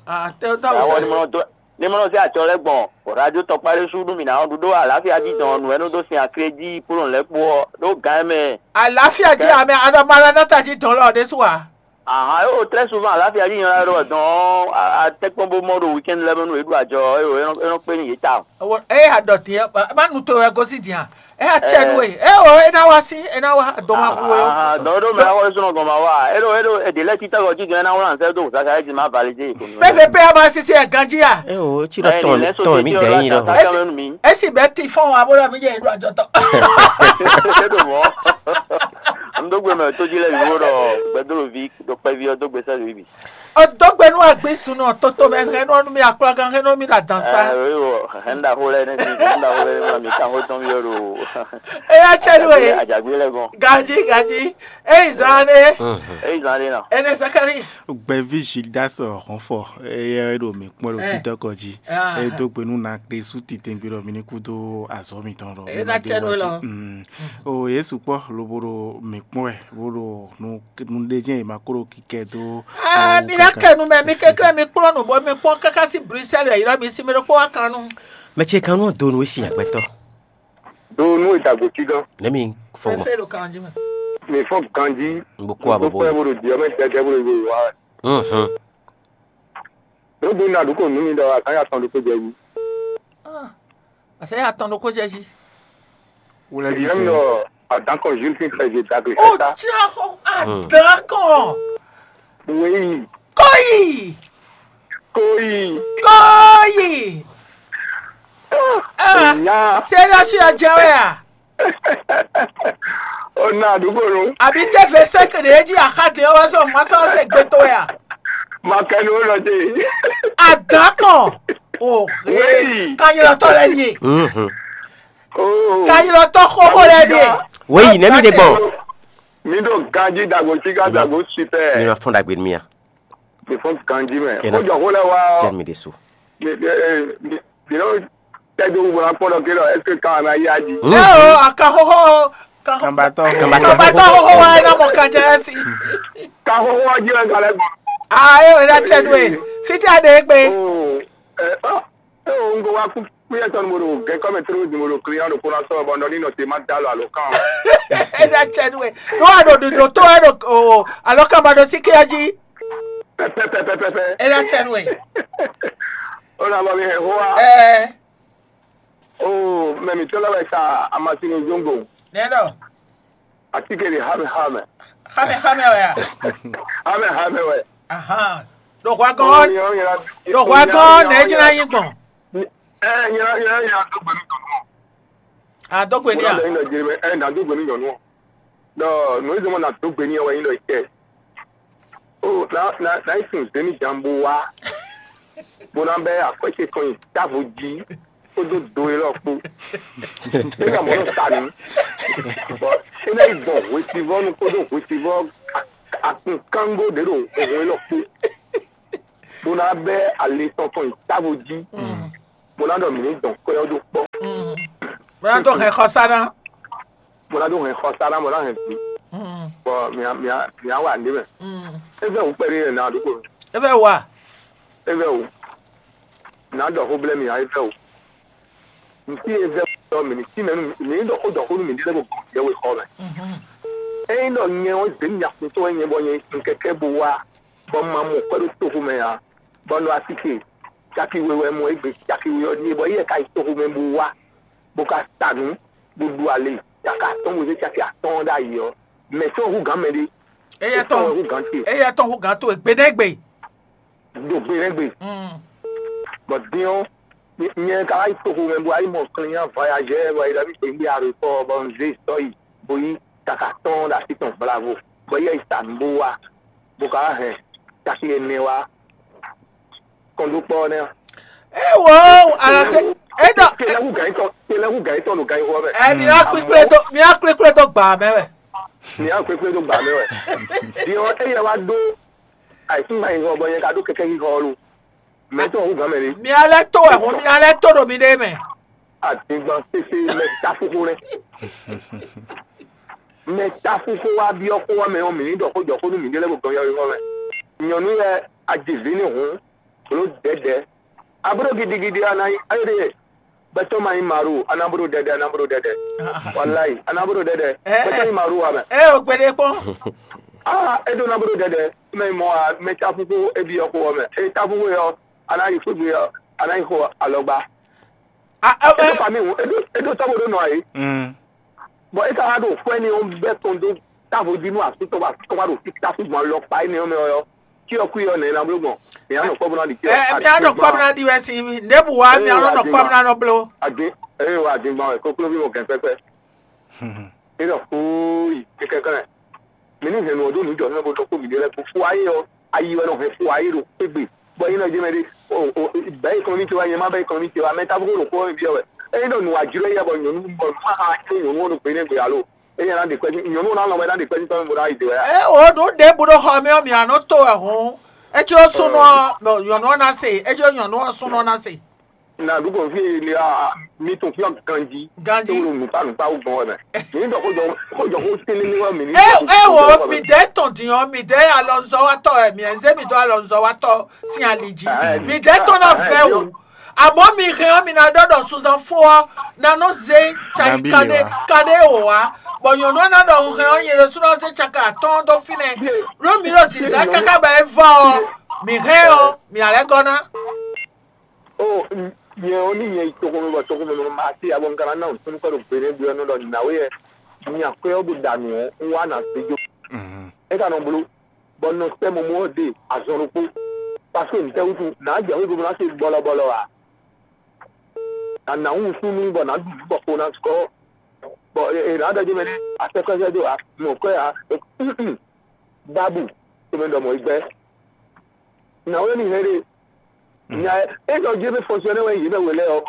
Ah, tɛ o dɔ Awɔ wusa. Ni mɔ dɔ ni mɔ se atsɔ lɛ gbɔn o radio tɔkpa ɖé su ɖu mi na ɔ́ ɖu ɖó àlàáfíà jí dɔn nǔ ɛnu dó sin akrédí kplɔn lɛ kpó ɔ ɖó gán mɛ. Àlàáfíà jí àmì anɔmọlá náà tají dán lọ ọdẹ sùn wa. Ahan yóò très souvent àlàáfíà jí yan lọ dɔn ɔ atɛkpɔn bó mɔ ɖo weekend lɛ mɛ nu eɖu àjọ ɔ e ɖɔ kpé ní yé ta. Eye adɔtí ɛ má nu to ɛ gosi dian. Ɛ atsɛ nu e ɛ o e na wa si e na wa dɔma ku e o. Dɔwɔɖo mɛ awɔ sunɔ gɔn ma wa eɖo eɖo eɖe lɛ tita gɔ jíjɛ na wlan sɛ do zaka ɛ di ma valide ko mi. P V P a ma sisi ɛ ganji a. E o tsi ɖɔ tɔn tɔn mi dɛ yin lɔ. Esi bɛ ti fɔn wa bolo mi yɛ eɖo ajɔtɔ. Eɖo mɔ. N dó gbe mɛ tó jí lɛ mi wo ɖɔ gbɛdolo vi ɖo kpɛvi ɔ dó gbe sɛ lóyi bi. Odogbe nú agbísúnú ɔ́, toto mɛ hɛn nɔ nú mì akplagan hɛn nɔ mì ɖo adǎn sá. Ɛ wíwɔ hɛn ɖaxó lɛ nɛ mi hɛn ɖaxó lɛ nɛ mi kan xó tɔn mi ɔ́ ɖo. Eya tsɛ nú e. Ajagbe lɛ gɔn. Gaji gaji. Eyi zan ɖe. Eyi zan ɖe nɔ. Ene Zakari. Gbɛvi Gildas Hɔnfɔ eye ɖo mǐ kpɔ́n ɖo títɔ́kɔ jí. E dó gbe nú na ɖe sú titɛngbé ɖɔ mi ní kúdó azɔ̌ mitɔn ɖɔ. Eya tsɛ nú e lɔ. O Yesu kpɔ́ lobo ɖo mǐ kpɔ́n wɛ bó ɖo nú nú ɖé jɛ́n è ma kó ɖo kikɛ dó. Ah, mi ná kɛ nu mɛ, mi kɛkɛ́ mi kplɔ́n nǔ bɔ mi kpɔ́n káká sín Bruxelles yǐlɔ mi sí mi ɖokpó wá kan nú. Mɛ ce kan nú do nú e sin agbɛtɔ. Do nú e dagbo cí gán. Ne mi fɔ gbɔn. Fɛfɛ ɖo kan jí mɛ. Mi fɔ ganji. N bó kó abo bó. Kpɛ́ bó ɖo diɔ mɛ tɛtɛ bó ɖo yìí wá. Mhm. Ɖó do nú aɖǔkɔ nú mi ɖɔ a kan ya tɔn ɖokpó jɛ yí. Ah. Àṣẹ yà tán lóko jẹ́ jí. Wúlẹ̀ bí Ìyẹn sìn. Lọ àdánkàn Jules fi fẹ́ ṣe dàgbé O kẹta. Tí a kọ àdánkàn. Wéyí. Kóyì. Kóyì. Kóyì. Ah, Ìyá. Ṣé lọ sí ọjà wẹ̀ à? Ọ̀nà àdúgbò nu. Àbí tẹ́fẹ̀ẹ́ sẹ́kẹ̀rẹ̀ èjì àkàdé ọwọ́ sọ mọ́sálásí gbé tó wẹ̀ à? Màkẹ́ni ó lọ dé. Àdánkàn. O Wéyí. Kanyɔtɔ lɛ ni. Mhm. Oh. Kanyɔtɔ xoxo lɛ ni. Wéyí nɛmi de gbɔn. Mi ɖo ganji dagbo siga dagbo sitɛ. Mi ma fɔn dagbe mi ya. Mi fɔn ganji mɛ. Ena. Ko jɔ ko lɛ wa. Jɛ mi de so. Mi mi mi mi no tɛ do bu na kpɔn dɔ ke dɔ est-ce que kan na ya di. Ɛ o aka xoxo. Kanbatɔ. Kanbatɔ xoxo wa ena mɔ kan jɛ si. Kan xoxo wa jɛ ka lɛ gbɔ. Ah, e o ena tsɛ do e. Fiti a de gbe. Oh. Eh, ah. Eo un ko wá kú kúyɛ tɔn mo ɖo gɛkɔ mɛ tló di mo ɖo client ɖo kóná sɔ́ bɔ nɔ ní nɔ te má dá lɔ alo kán. Ena tsɛ nú we. Nú wa ɖo ɖoɖo tó wɛ ɖo o alɔ kama ɖo sí kéya jí. Pɛpɛpɛpɛpɛ. Ena tsɛ nú we. Ó nà bɔ mi hɛn xó wa. Ɛɛ. O mɛ mi tɔlɔ wɛ sa amasinu zongo. Nɛ ɖɔ. Atike ɖe xámɛ xámɛ. Xámɛ xámɛ wɛ a? Xámɛ xámɛ wɛ. Ahan. Ɖo hwa gɔ́n, ɖo hwa gɔ́n nɛ jɛ́n ná nyí gbɔn. Ɛ nyɛ nyɛ nyɛ dó gbe nú nyɔnu. A dó gbe ní a? Mo lọ yín lọ jẹ ẹ nà dó gbe nú nyɔnu. Dɔ nù í zɔmọ nà dó gbe ní ẹ wẹ yín lọ jẹ. O na na na yi sun zeni jambo wa. Mo na bɛ akwɛsɛ kan yi davo ji. Kpódó do e lɔ kpó. É ka mɔ nɔ sa nǔ. Bɔ é ná yi gbɔn hwesivɔ́nu kpódó hwesivɔ́ akunkángo ɖě ɖo hun élɔ́ kpó, bó ná bɛ́ ali tɔn tɔn yi távo jí, bó ná ɖɔ mǐ ní dɔn kwɛ́ ɔ́ dó kpɔ́, Bó ná dó hɛn xɔsá ná. Bó ná dó hɛn xɔsá ná, bó ná hɛn vǐ, bɔ mǐ á wa nǔɖé mɛ. É vɛ́ wǔ kpɛɖé lɛ́ɛ ná ɖokpó. É vɛ́ wú a? É vɛ́ wǔ. Nǎ ɖɔ xó blɛ́ mì ǎ, é vɛ́ wǔ. Nǔ tí é vɛ́ wǔ ɔ́, mǐ ní tínmɛ nú mǐ ní ɖɔ xó ɖɔ xó nú mǐ ɖé lɛ́ɛ bó gɔn yɛhwexɔ mɛ. Ényí ɖɔ nyɛ ɔ́ zě mì afuntɔ́ wɛ nyɛ bɔ nyɛ yi sun kɛkɛ́ bó wá, bɔ un ma mɔ kwɛ́ ɖó toxo mɛ ǎ, bɔ un ɖo asike caki we wɛ mɔ égbé caki we ɔ́ ɖíe, bɔ éyɛ́ ka yi toxo mɛ bó wá, bó ka sa nǔ, bó ɖu ali caki atɔ́ɔ́n bó zé caki atɔ́ɔ́n ɖ'ayǐ ɔ́, mɛ̌ tɔn hú gǎn mɛ ɖé? Éyɛ́ tɔn Hú gǎn ce. Éyɛ́ tɔn hú gǎn towe gbe nɛ́ gbe. Do gbe nɛ́ gbe. Bɔ din ɔ́, nyɛ ka wá yi toxo mɛ bó wá yi mɔ client voyageur bɔ yi ɖɔ mì kpé gbé aɖopɔ bɔ un zé sɔ yi bó yi kaka tɔn ɖo así tɔn blavo, bɔ yɛ yi sa nǔ bó wá, bó ka wá hɛn caki ɛnɛ wá kɔn dó kpɔ́ nɛ́. Ewo, alase, eɖɔ. Kele hu gǎn tɔn, kele hu gǎn tɔn ɖo gǎn xɔ mɛ. Ɛ mi ná kpékplé dó mi ná kpékplé dó gbà mɛ wɛ. Mi ná kpékplé dó gbà mɛ wɛ. Din ɔ́, éyɛ wá dó àìsín gbà yìí bɔ nyɛ ka ɖó kɛkɛ yìí hɔ lo. Mɛ tɔn hu gǎn mɛ ni. Mi alɛ tó wɛ hɔn mi alɛ tó ɖo mi ɖe mɛ. Àdìgbàn pépé mɛ táfúkú rẹ. Mɛ táfúkú wá byɔ́ kó wá mɛ ɔ́ mǐ ní ɖɔ xó jɔ xó nú mǐ ɖé lɛ́ɛ bó gɔn yɔyɔ́ mɛ. Nyɔ̌nu lɛ́ɛ, a ji vǐ ní hǔn, bló dɛ̌dɛ̌. Abló gidigidi a nǎ nyí éɖée, gbɛtɔ́ ma nyí Maru, a nǎ bló dɛ̌dɛ̌, a nǎ bló dɛ̌dɛ̌. Walayi, a nǎ bló dɛ̌dɛ̌. Gbɛtɔ́ nyí Maru ǎ mɛ. Ɛ o gbeɖé kpɔ́n. Aa, é ɖó ná bló dɛ̌dɛ̌, mɛ nyí mɔ a mɛ táfúkú é byɔ́ xó ɔ́ mɛ. É táfúkú é ɔ́, a nǎ yi xwé gbe ɔ́, a nǎ yi xo alɔgba. A ɛ É ɖó ɛ fami hǔn, é ɖó é ɖó tɔ́ bó ɖó nɔ ayé. Bɔ é ka wá ɖo xwɛ ní ɔ́ bɛ́ tɔn dó távo jí nú asú tɔn bɔ asú tɔn wá ɖo fí táfú gbɔn alɔ kpa énɛ́ ɔ́ mɛ ɔ́, cyɔ kwí ɔ́ nɛ̌ ná bló gbɔn? Mǐ á nɔ kpɔ́ bó ná ɖi cyɔ. Ɛ mi á nɔ kpɔ́ bó ná ɖi wɛ sin mi. Ɖěbǔ wá mi á nɔ nɔ kpɔ́ bó ná nɔ bló. Adé eye wa adé gbɔn wɛ kókó bí mo gɛn pɛpɛ. É ɖɔ xóóyì kɛkɛ kɛnɛ. Mǐ ní hɛn nǔ ɔ́ dó nǔ jɔ nú ɛ bó ɖɔ kó mǐ ɖe lɛ́ɛ kó fó ayé ɔ́, ayi wɛ nɔ hɛn fó ayé ɖo égbé. Bɔ é nɔ jɛ mɛ ɖé, o o bɛ̌ ekɔnɔmí ce wá, nyɛ má bɛ́ ekɔnɔmí ce wá, mɛ tábú kó ɖo xó ɔ́ mɛ byɔ́ wɛ. Ényí ɖɔ nǔ wá jlɔ́ yɛ bɔ nyɔ̌nu bɔ má xa ké nyɔ̌nu ɔ́ ɖo gbě nɛ́ gbe alo. Ényí ná ɖe kpɛ́ nyɔ̌nu ná lɔn wɛ ná ɖe kpɛ́ tɔn bó ná yi dě wɛ. Ɛ o ɖo ɖěbǔ ɖo xɔ mɛ ɔ́ mi á nɔ to wɛ hɔn. É jló súnnu ɔ́ nyɔ̌nu ɔ́ ná se, é jló nyɔ̌nu ɔ́ súnnu ɔ́ ná se. Na ɖu kɔn fí e mi tun fí ganji. Ganji. Tó nùpá nùpá wú gbɔn wɛ mɛ. Mi ní dɔ kó jɔ kó jɔ kó télé ní wá mi ní. E e wo mi dɛ tɔn diyan mi dɛ alɔnzɔwatɔ ɛ mi ɛzɛ mi dɔ alɔnzɔwatɔ sin ali ji mi dɛ tɔn na fɛ wu. Àmọ́ mi hɛn ɔ́ mi na dɔ dɔ suzan fún ɔ na nɔ ze tsayi kane kane wò wá. Bɔn nyɔnu ɔ́ na dɔ hun hɛn ɔ́ nyɛ ɖésú na ze tsaka atɔ́ɔ́n dó fínɛ́. Ló mi ɖo zǐzá káká bɔ é vɔ ɔ mi hɛn ɔ mi alɛ gɔ́ ná. O nyɛ ɔ́ ní nyɛ yi toxo mɛ bɔ toxo mɛ ma ti abɔ nkana na ntun kɔ ɖo gbe ne bi ɔ́ nɔ ɖɔ nǎwe yɛ nya kwɛ ɔ́ ɖo ɖa nǔ ɔ́ un wá na se jó. É ka nɔ bló bɔ nɔ sɛ mɔmɔ ɔ́ ɖe azɔn ɖokpó. Parce que ntɛ wutu nǎ jɛ wíwú ná se bɔlɔbɔlɔ a? Nǎ nǎ wú súnú bɔ nǎ ɖu nǔ bɔ xo ná sukɔ. Bɔ è nǎ ɖɔ jɛ mɛ ní asɛkɔsɛ dó a mɔ kwɛ a. Bábù tó mɛ ɖɔ mɔ yi gbɛ. Nǎwe ní hɛn ɖe. Nya é ɖɔ jɛ mɛ fɔnsɛnɛ wɛ yě mɛ wele ɔ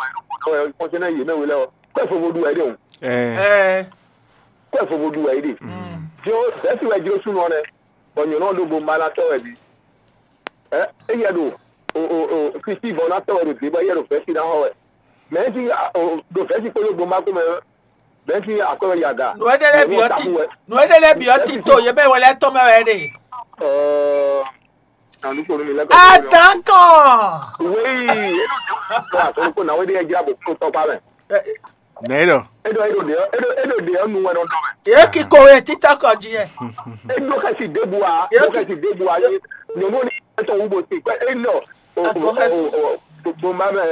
fɔnsɛnɛ yě mɛ wele ɔ kɔɛ fo vo ɖu wɛ ɖe o. Ɛ Kɔɛ fo vo ɖu wɛ ɖe. Jɔ bɛsi wɛ jlo sunɔ nɛ. Bɔ nyɔnɔ ɖo bo ma na tɔ wɛ bi. Ɛ eyɛ ɖo o o o kristi bɔ na tɔ wɛ ɖo dé bɔ eyɛ ɖo vɛsi na xɔ wɛ. Mɛ si ɖo vɛsi kpódó gbɔn ma kó mɛ. Bɛsi akɔwɛ yaga. Nu ede lɛ biɔ ti nu ede lɛ biɔ ti to ye bɛ wɛlɛ tɔn mɛ wɛ de. Ɛɛ nanukponu mi lɛ kɔ. Adan kɔn. Wéyi atɔnukpo na wéde yɛ jira bò kúrò tɔkpa mɛ. Nɛ lɔ. Edo edo de edo edo de ɔnu wɛ nɔ dɔ mɛ. Ye ki ko ye tita kɔ ji yɛ. Edo kasi debu a edo kasi debu a ye nyɔnu ni ɛtɔ wu bo si kɔ enɔ. Gbogbo ma mɛ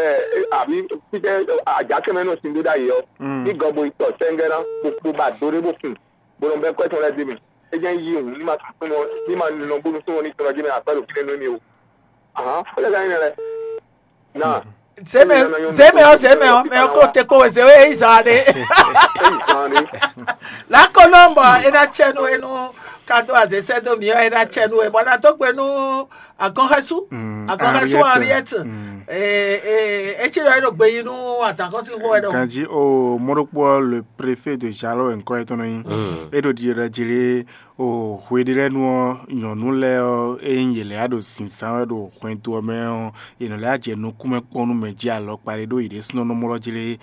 àbí títẹ àjàkẹ́mẹ́ náà sì ń dó dá yìí ọ ní gọbọ ìtọ̀ sẹ́ńgẹ́rán gbogbo bá dórí bó kùn bó lọ bẹ kọ́ ẹ̀tọ́ lẹ́dí mi ẹ jẹ́ ń yí òun ní ma tún fún wọn ní ma nínú bónú fún wọn ní tọ́lá jẹ́ mi àpẹẹrẹ òfin lẹ́nu mi o. Ahán ó lè ká yín rẹ náà. Zeme o zeme o zeme o mɛ ko te ko zewe eyi zan de. Èyí kan ni. Lako nɔmbɔ ena tsɛnu enu ka dó azě sɛ́ dó mǐ ɔ́, é ná cɛ nú we, bɔ ná dó gbe nú agɔnxɛsú. Mm, agɔnxɛsú Henriette. Henriette. Mm. É cí ɖɔ é ɖo gbe yí nú adǎnkɔ́síxo wɛ ɖɔhun. Ganjí o mɔɖokpɔ le préfet de Jaló wɛ ŋkɔ yɛtɔn nɔ nyí. Mm. É ɖo ɖiɖɔ ɖɔ jlé o hwe ɖé lɛ́ɛ nu ɔ́, nyɔ̌nu lɛ́ɛ ɔ́, ényí yě lɛ́ ɖo zǐnzán wɛ ɖo hwɛndo ɔ́ mɛ ɔ́, yě nɔ lɛ́ jɛ nukúnmɛ kpɔ́n nú mɛ jí alɔkpa ɖé ɖó yě ɖésúnɔ nɔ mlɔ́ jlé.